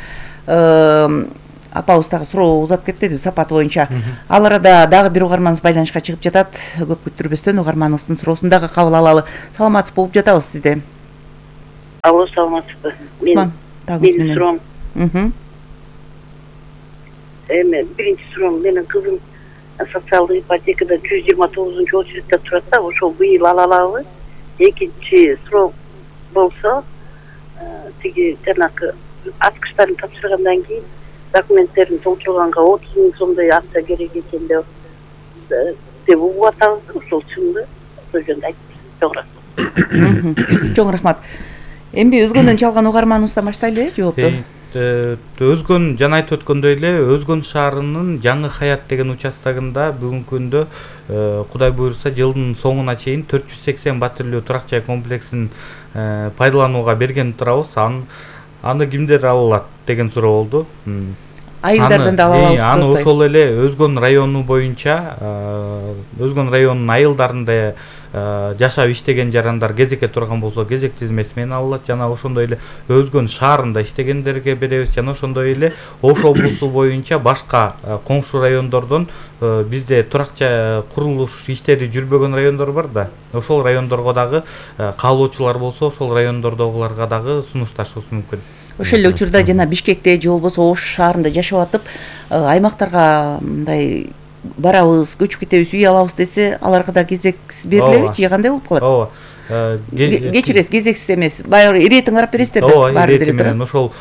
апабыз дагы суроо узатып кетти сапат боюнча. Ал арада дагы бир угарманыбыз байланышка чыгып жатат. Көп күттүрбөстөн угарманыбыздын суроосун дагы кабыл алалы. Саламатсыз болуп жатабыз сизде. Алло, саламатсызбы? Менин суроом. Эми биринчи суроом, менин кызым социалдык ипотекада 129 очередте турат да, ошол быйыл ала алабы? Экинчи суроо болсо, тиги жанакы аткычтарын тапшыргандан кийин документтерин толтурганга 30 миң сомдой акча керек экен деп угуп атабыз. Ошол чынбы? Ошол жөнүндө айтып. Чоң рахмат. Эми өзгөндөн чалган угарманыбыздан баштайлы жоопту. Өзгөн жана айтып өткөндөй эле, Өзгөн шаарынын Жаңы Хаят деген участогунда бүгүнкү күндө Кудай буйрса жылдын соңуна чейин 480 батирлүү турак жай комплексин пайдаланууга берген турабыз. Аны кимдер ала алат деген суроо болду. Айылдардан да ала алабыз. Аны ошол эле Өзгөн району боюнча, Өзгөн районунун айылдарында жашап иштеген жарандар кезекке турган болсо кезек тизмеси менен алат, жана ошондой эле Өзгөн шаарында иштегендерге беребиз, жана ошондой эле Ош облусу боюнча башка коңшу райондордон бизде туракча курулуш иштери жүрбөгөн райондор бар да. Ошол райондорго дагы каалоочулар болсо, ошол райондордогуларга дагы сунушташыбыз мүмкүн. Ошол эле учурда жана Бишкекте же болбосо Ош шаарында жашап атып, аймактарга мындай барабыз, көчүп кетебиз, үй алабыз десе, аларга да кезек берилеби же кандай болуп калат? Ооба. Кечиресиз, кезексиз эмес. Баягы иретин карап бересиздер да, баары деле турат. Ошол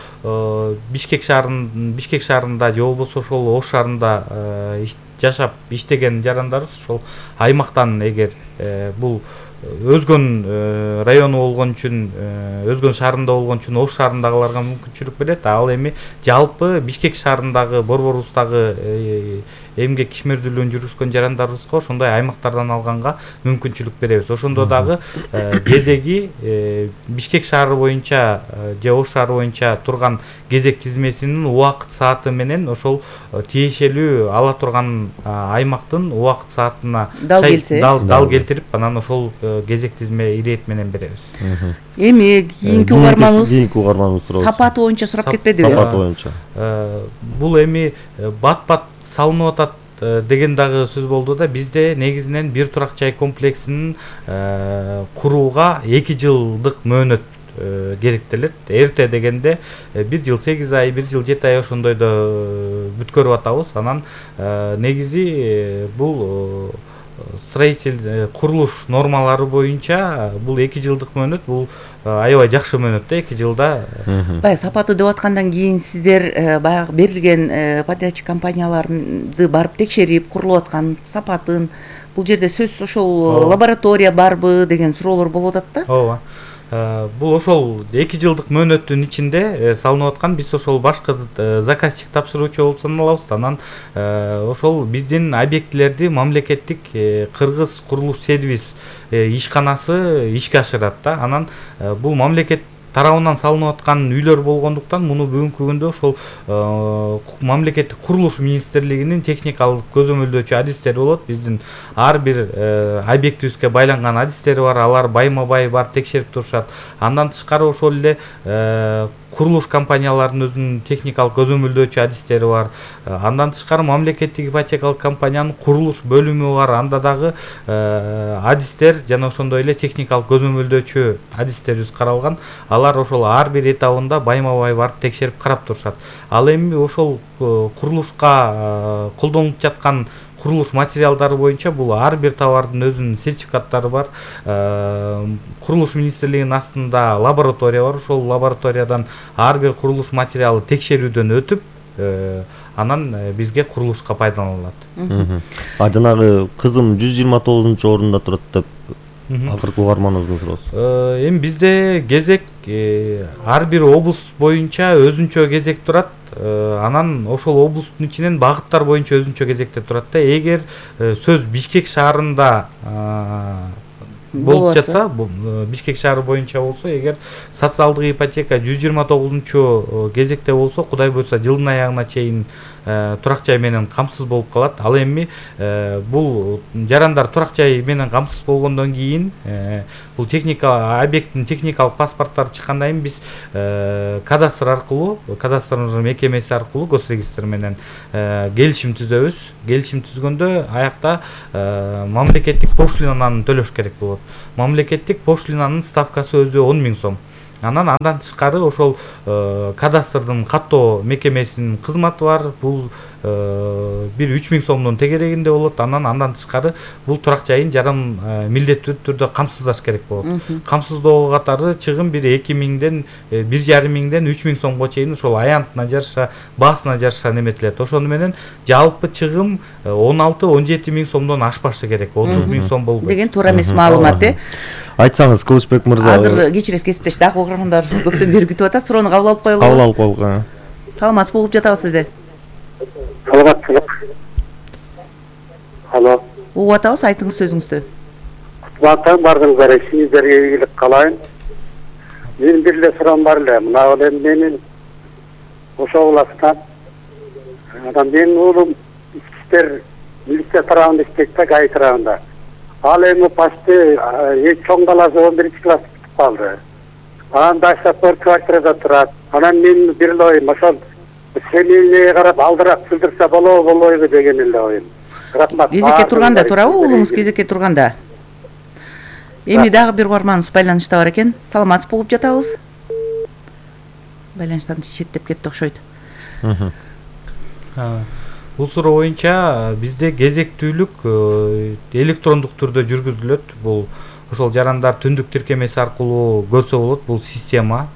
Бишкек шаарында же болбосо ошол Ош шаарында жашап иштеген жарандарыбыз ошол аймактан эгер бул Өзгөн району болгон үчүн, Өзгөн шаарында болгон үчүн Ош шаарындагыларга мүмкүнчүлүк берет. Ал эми жалпы Бишкек шаарындагы борборубуздагы эмгек ишмердүүлүгүн жүргүзгөн жарандарыбызга ошондой аймактардан алганга мүмкүнчүлүк беребиз. Ошондо дагы кезеги Бишкек шаары боюнча же Ош шаары боюнча турган кезек тизмесинин убакыт сааты менен ошол тиешелүү ала турган аймактын убакыт саатына дал келтирип, анан ошол кезек тизме ирет менен беребиз. Эми кийинки угарманыбыз сапаты боюнча сурап кетпедиби? Сапаты боюнча. Бул эми бат-бат салынып атат деген дагы сөз болду да. Бизде негизинен бир турак жай комплексинин курууга 2 жылдык мөөнөт керектелет. Эрте дегенде 1 жыл 8 ай, 1 жыл 7 ай ошондойдо бүткөрүп атабыз. Анан негизи бул курулуш нормалары боюнча бул 2 жылдык мөөнөт, бул аябай жакшы мөөнөт да, 2 жылда. Баягы сапаты деп аткандан кийин сиздер баягы берилген подрядчик компанияларды барып текшерип, курулуп аткан сапатын, бул жерде сөзсүз ошол лаборатория барбы деген суроолор болуп атат да. Ооба. бул ошол 2 жылдык мөөнөттүн ичинде салынып аткан. Биз ошол башкы заказчик тапшыруучу болуп саналабыз. Анан ошол биздин объектилерди мамлекеттик Кыргыз курулуш сервис ишканасы ишке ашырат да. Анан бул мамлекет тарабынан салынып аткан үйлөр болгондуктан муну бүгүнкү күндө ошол мамлекеттик курулуш министрлигинин техникалык көзөмөлдөөчү адистери болот. Биздин ар бир объектибизге байланган адистери бар. Алар байма-бай барып текшерип турушат. Андан тышкары ошол эле курулуш компанияларынын өзүнүн техникалык көзөмөлдөөчү адистери бар. Андан тышкары мамлекеттик ипотекалык компаниянын курулуш бөлүмү бар. Анда дагы адистер жана ошондой эле техникалык көзөмөлдөөчү адистерибиз каралган. Алар ошол ар бир этабында байма-бай барып текшерип карап турушат. Ал эми ошол курулушка колдонулуп жаткан курулуш материалдары боюнча бул ар бир товардын өзүнүн сертификаттары бар. Курулуш министрлигинин астында лаборатория бар. Ошол лабораториядан ар бир курулуш материалы текшерүүдөн өтүп, анан бизге курулушка пайдаланылат. Жанагы кызым 129-орунда турат деп акыркы угарманыбыздын суроосу. Эми бизде кезек ар бир облус боюнча өзүнчө кезек турат. Анан ошол облустун ичинен багыттар боюнча өзүнчө кезекте турат да. Эгер сөз Бишкек шаарында болуп жатса, Бишкек шаары боюнча болсо, эгер социалдык ипотека 129 кезекте болсо, Кудай буйрса жылдын аягына чейин турак жай менен камсыз болуп калат. Ал эми бул жарандар турак жай менен камсыз болгондон кийин бул техника объекттин техникалык паспорттары чыккандан кийин биз кадастр аркылуу, кадастр мекемеси аркылуу госрегистр менен келишим түзөбүз. Келишим түзгөндө аякта мамлекеттик пошлинаны төлөш керек болот. Мамлекеттик пошлинанын ставкасы өзү 10 000 сом. Андан тышкары ошол кадастрдын каттоо мекемесинин кызматы бар. Бул бир 3 000 сомдун тегерегинде болот. Андан тышкары бул турак жайын жаран милдеттүү түрдө камсыздаш керек болот. Камсыздоо катары чыгым бир 2 000ден 1,5 миңден 3 000 сомго чейин ошол аянтына жараша, баасына жараша неметилет. Ошону менен жалпы чыгым 16-17 000 сомдон ашпашы керек. 30 000 сом болбойт деген туура эмес маалымат. Айтсаңыз, Кылычбек мырза. Азыр кечиресиз кесиптеш, дагы угармандар көптөн бери күтүп атат. Суроону кабыл алып коелу. Кабыл алып коелук. Саламатсызбы, угуп жатабыз сизди. Саламатсызбы. Алло. Угуп атабыз, айтыңыз сөзүңүздү. Кутман бардыңыздар, ишиңиздерге ийгилик каалайын. Менин бир эле суроом бар эле. Мына эми менин ошол уластан анан менин уулум иштер милиция тарабында иштейт да, ГАИ тарабында. Ал эми почти чоң баласы 11 класс бүтүп калды. Анан баштап бир квартирада турат. Анан мен бир эле оюм ошол семейге карап алдыраак сүлдүрсө болобу деген эле оюм. Рахмат. Кезекке турганда турабы уулуңуз кезекке турганда? Эми дагы бир угарманыбыз байланышта бар экен. Саламатсызбы, угуп жатабыз. Байланыштан четтеп кетти окшойт. Бул суроо боюнча бизде кезектүүлүк электрондук түрдө жүргүзүлөт. Бул ошол жарандар түндүк тиркемеси аркылуу көрсө болот. Бул система,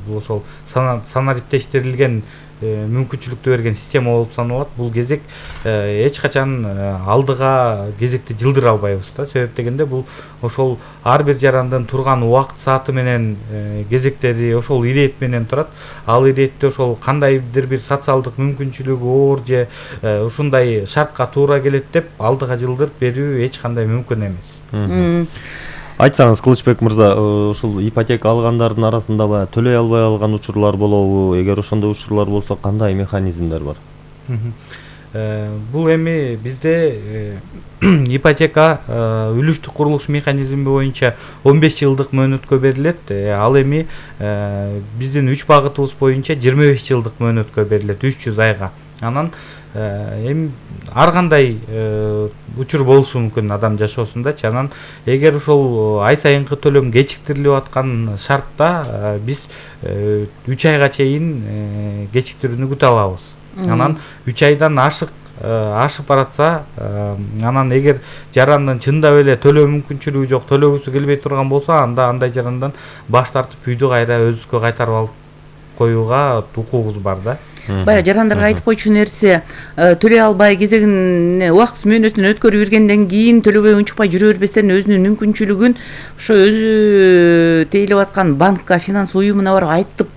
бул ошол санариптештирилген мүмкүнчүлүктү берген система болуп саналат. Бул кезек эч качан алдыга кезекти жылдыра албайбыз да. Себеп дегенде бул ошол ар бир жарандын турган убакыт сааты менен кезектери ошол ирет менен турат. Ал иретте ошол кандайдыр бир социалдык мүмкүнчүлүгү оор же ушундай шартка туура келет деп алдыга жылдырып берүү эч кандай мүмкүн эмес. Айтсаңыз, Кылычбек мырза, ушул ипотека алгандардын арасында төлөй албай алган учурлар болобу? Эгер ошондой учурлар болсо, кандай механизмдер бар? Бул эми бизде ипотека үлүштүк курулуш механизми боюнча 15 жылдык мөөнөткө берилет. Ал эми биздин 3 багытыбыз боюнча 25 жылдык мөөнөткө берилет, 300 айга. Анан эми ар кандай учур болушу мүмкүн адам жашоосундачы. Анан эгер ошол ай сайынкы төлөм кечиктирилип аткан шартта биз 3 айга чейин кечиктирүүнү күтө алабыз. Анан 3 айдан ашып баратса, анан эгер жарандын чындап эле төлөө мүмкүнчүлүгү жок, төлөгүсү келбей турган болсо, анда андай жарандан баш тартып үйдү кайра өзүбүзгө кайтарып алып коюуга укугубуз бар да. Баягы жарандарга айтып койчу нерсе, төлөй албай кезегин убакыт мөөнөтүн өткөрүп бергенден кийин төлөбөй унчукпай жүрө бербестен өзүнүн мүмкүнчүлүгүн ошо өзү тейлеп аткан банкка, финанс уюмуна барып айтып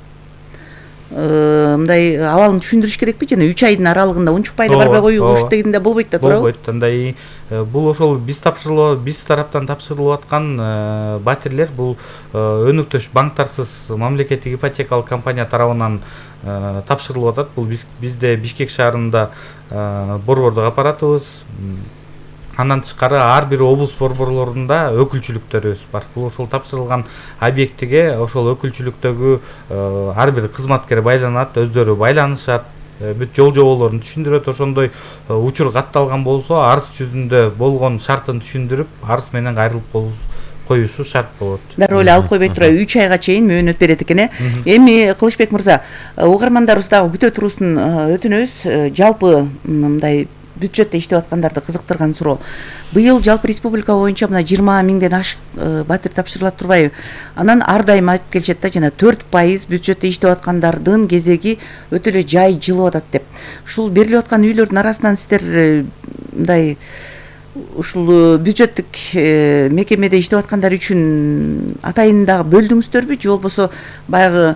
мындай абалын түшүндүрүш керекпи? Жана 3 айдын аралыгында унчукпай эле барбай коюш дегенде болбойт да, туурабы? Болбойт. Андай бул ошол биз тараптан тапшырылып аткан батирлер бул өнөктөш банктарсыз мамлекеттик ипотекалык компания тарабынан тапшырылып атат. Бул бизде Бишкек шаарында борбордук аппаратыбыз, андан тышкары ар бир облус борборлорунда өкүлчүлүктөрүбүз бар. Бул ошол тапшырылган объектиге ошол өкүлчүлүктөгү ар бир кызматкер байланат, өздөрү байланышат, бүт жол жоболорун түшүндүрөт. Ошондой учур катталган болсо, арыз жүзүндө болгон шартын түшүндүрүп, арыз менен кайрылып коюшу шарт болот. Дароо эле алып койбой тура 3 айга чейин мөөнөт берет экен. Эми Кылычбек мырза, угармандарыбыз дагы күтө турусун өтүнөбүз. Жалпы мындай бюджетте иштеп аткандарды кызыктырган суроо. Быйыл жалпы республика боюнча мына 20 миңден ашык батир тапшырылат турбайбы? Анан ар дайым айтып келишет да, жана 4% бюджетте иштеп аткандардын кезеги өтө эле жай жылып атат деп. Ушул берилип аткан үйлөрдүн арасынан сиздер мындай ушул бюджеттик мекемеде иштеп аткандар үчүн атайын дагы бөлдүңүздөрбү, же болбосо баягы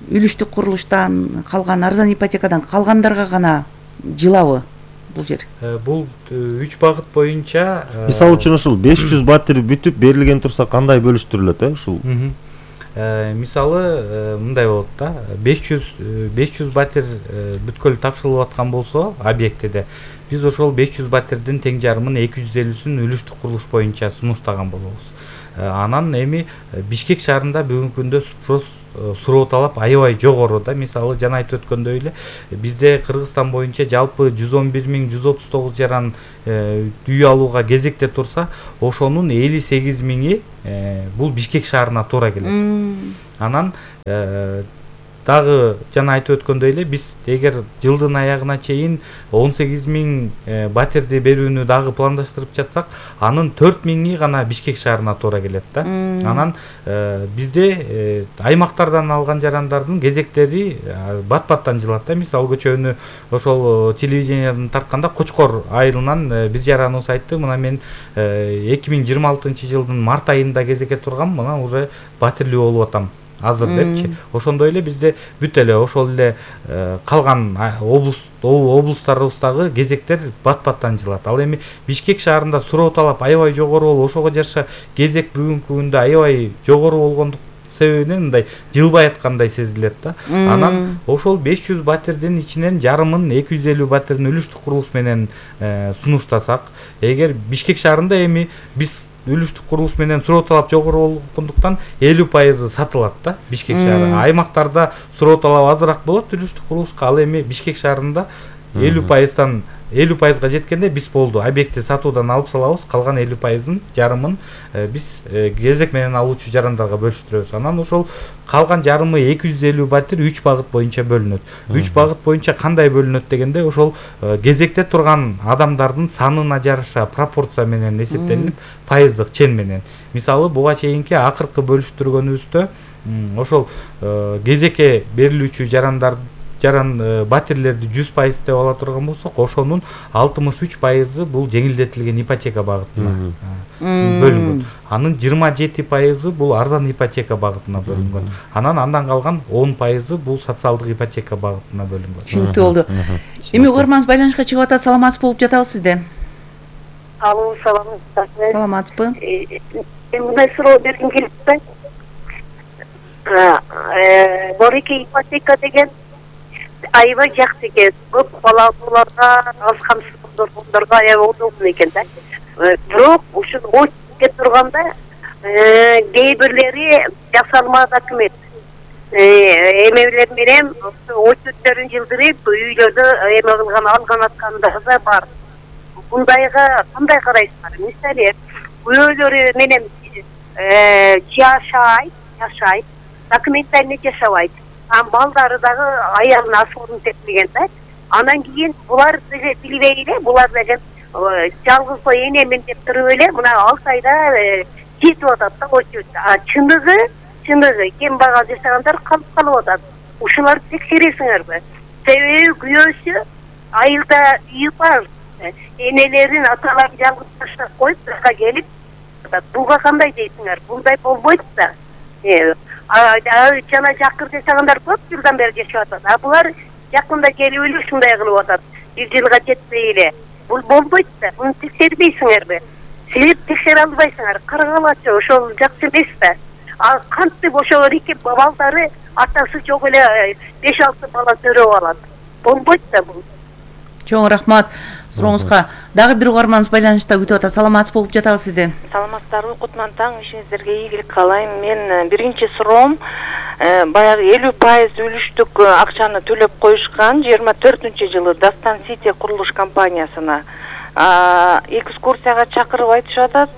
үлүштүк курулуштан калган, арзан ипотекадан калгандарга гана жылабы бул жер? Бул 3 багыт боюнча мисалы үчүн ушул 500 батир бүтүп берилген турса кандай бөлүштүрүлөт, ушул? Мисалы мындай болот да, 500 батир бүткөлү тапшырылып аткан болсо объектиде, биз ошол 500 батирдин тең жарымын 250-син үлүштүк курулуш боюнча сунуштаган болобуз. Анан эми Бишкек шаарында бүгүнкү күндө спрос суроо талап аябай жогору да. Мисалы жана айтып өткөндөй эле, бизде Кыргызстан боюнча жалпы 111.139 жаран үй алууга кезекте турса, ошонун 58.000-и бул Бишкек шаарына туура келет. Анан дагы жана айтып өткөндөй эле, биз эгер жылдын аягына чейин 18.000 батирди берүүнү дагы пландаштырып жатсак, анын 4.000-и гана Бишкек шаарына туура келет да. Анан бизде аймактардан алган жарандардын кезектери бат-баттан жылат да. Мисалы көчөнү ошол телевиденияден тартканда Кочкор айылынан биз жараныбыз айтты, мына мен 2026 жылдын март айында кезекке тургам, мына уже батирлүү болуп атам азыр депчи. Ошондой эле бизде бүт эле ошол эле калган облустарыбыздагы кезектер бат-баттан жылат. Ал эми Бишкек шаарында суроо талап аябай жогору болуп, ошого жараша кезек бүгүнкү күндө аябай жогору болгондук себебинен мындай жылбай аткандай сезилет да. Анан ошол 500 батирдин ичинен жарымын 250 батирин үлүштүк курулуш менен сунуштасак, эгер Бишкек шаарында эми биз үлүштүк курулуш менен суроо талап жогору болгондуктан 50% сатылат да Бишкек шаары. Аймактарда суроо талап азыраак болот үлүштүк курулушка, ал эми Бишкек шаарында 50%га жеткенде биз болду, объекти сатуудан алып салабыз, калган 50%-ын жарымын биз кезек менен алуучу жарандарга бөлүштүрөбүз. Анан ошол калган жарымы 250 батир 3 багыт боюнча бөлүнөт. 3 багыт боюнча кандай бөлүнөт дегенде, ошол кезекте турган адамдардын санына жараша пропорция менен эсептелип, пайыздык чен менен. Мисалы буга чейинки акыркы бөлүштүргөнүбүздө ошол кезекке берилүүчү жаран батирлерди 100% деп ала турган болсок, ошонун 63% бул жеңилдетилген ипотека багытына бөлүнгөн. Анын 27% бул арзан ипотека багытына бөлүнгөн. Андан калган 10% бул социалдык ипотека багытына бөлүнгөн. Түшүнүктүү болду. Эми угарманыбыз байланышка чыгып атат, саламатсыз болуп жатабыз сизде. Алло, саламатсызбы? Саламатсызбы? Мындай суроо бергим келип атат. Борики ипотека деген аябай жакшы экен. Көп балалууларга, аз камсыздууларга аябай удобно экен да. Бирок ушул очке турганда кээ бирлери жасалмады өкмөт. Эмелер менен очөттөрүн жылдырып, үйлөрдү эме кылган, алган аткандар да бар. Бундайга кандай карайсыздар? Мисалы, үйлөрү менен жашайт, документально жашабайт. Балдары дагы аялына асуурун тепмеген да. Анан кийин булар билбей эле, булар деген жалгыз энемен деп туруп эле мына 6 айда жетип атат да очу. Чындыгы кем багал жашагандар калып атат. Ушуларды текшересиңерби? себеби күйөөсү айылда үйү бар, энелерин аталарын жалгыз таштап коюп бияка келип буга кандай дейсиңер, булдай болбойт да. Жана жакыр жашагандар көп жылдан бери жашап атат, а булар жакында келип эле ушундай кылып атат, 1 жылга жетпей эле. Бул болбойт да, муну текшербейсиңерби? Силер текшере албайсыңар, карагалачы, ошол жакшы эмес да. А кантип ошо эки балдары атасы жок эле 5-6 бала төрөп алат. Болбойт да бул. Чоң рахмат сурооңузга. Дагы бир угарманыбыз байланышта күтүп атат. Саламатсыз болуп жатабыз сизди. Саламатсыздарбы? Кутман таң, ишиңиздерге ийгилик каалайм. Мен биринчи суроом баягы 50% үлүштүк акчаны төлөп коюшкан 24-жылы Дастан Сити курулуш компаниясына экскурсияга чакырып айтышып атат.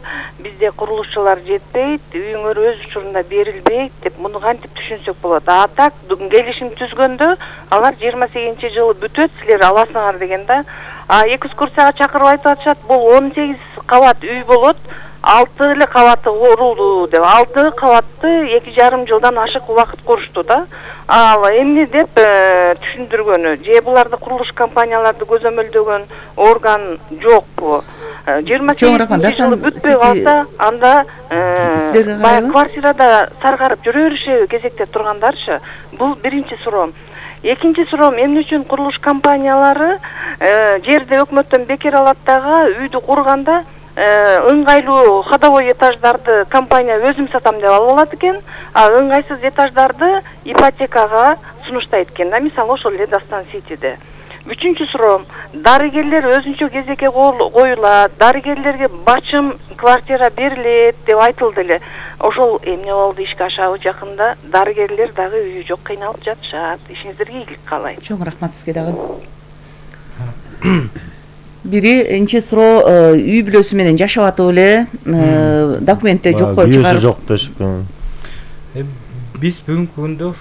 Бизде курулушчулар жетпейт, үйүңөр өз учурунда берилбейт деп, муну кантип түшүнсөк болот? А так келишим түзгөндө алар 28-жылы бүтөт, силер аласыңар деген да. Экскурсияга чакырып айтып атышат, бул 18 кабат үй болот, 6 эле кабаты курулду деп. 6 кабатты 2,5 жылдан ашык убакыт курушту да. Ал эмне деп түшүндүргөнү, же буларды курулуш компанияларды көзөмөлдөгөн орган жокпу? 28 жылы бүтпөй калса, анда баягы квартирада саргарып жүрө бериши кезекте тургандарчы. Бул биринчи суроом. Экинчи суроом, эмне үчүн курулуш компаниялары жерди өкмөттөн бекер алат дагы үйдү курганда ыңгайлуу ходовой этаждарды компания өзүм сатам деп алып алат экен, а ыңгайсыз этаждарды ипотекага сунуштайт экен да, мисалы ошол эле Дастан Ситиде. Үчүнчү суроом, дарыгерлер өзүнчө кезекке коюлат, дарыгерлерге бачым квартира берилет деп айтылды эле. Ошол эмне болду, ишке ашабы жакында? Дарыгерлер дагы үйү жок, кыйналып жатышат. Ишиңиздерге ийгилик каалайм. Чоң рахмат сизге дагы. Биринчи суроо, үй бүлөсү менен жашап атып эле, документте жокко чыгарып. Жок дешпи. Биз бүгүнкү күндө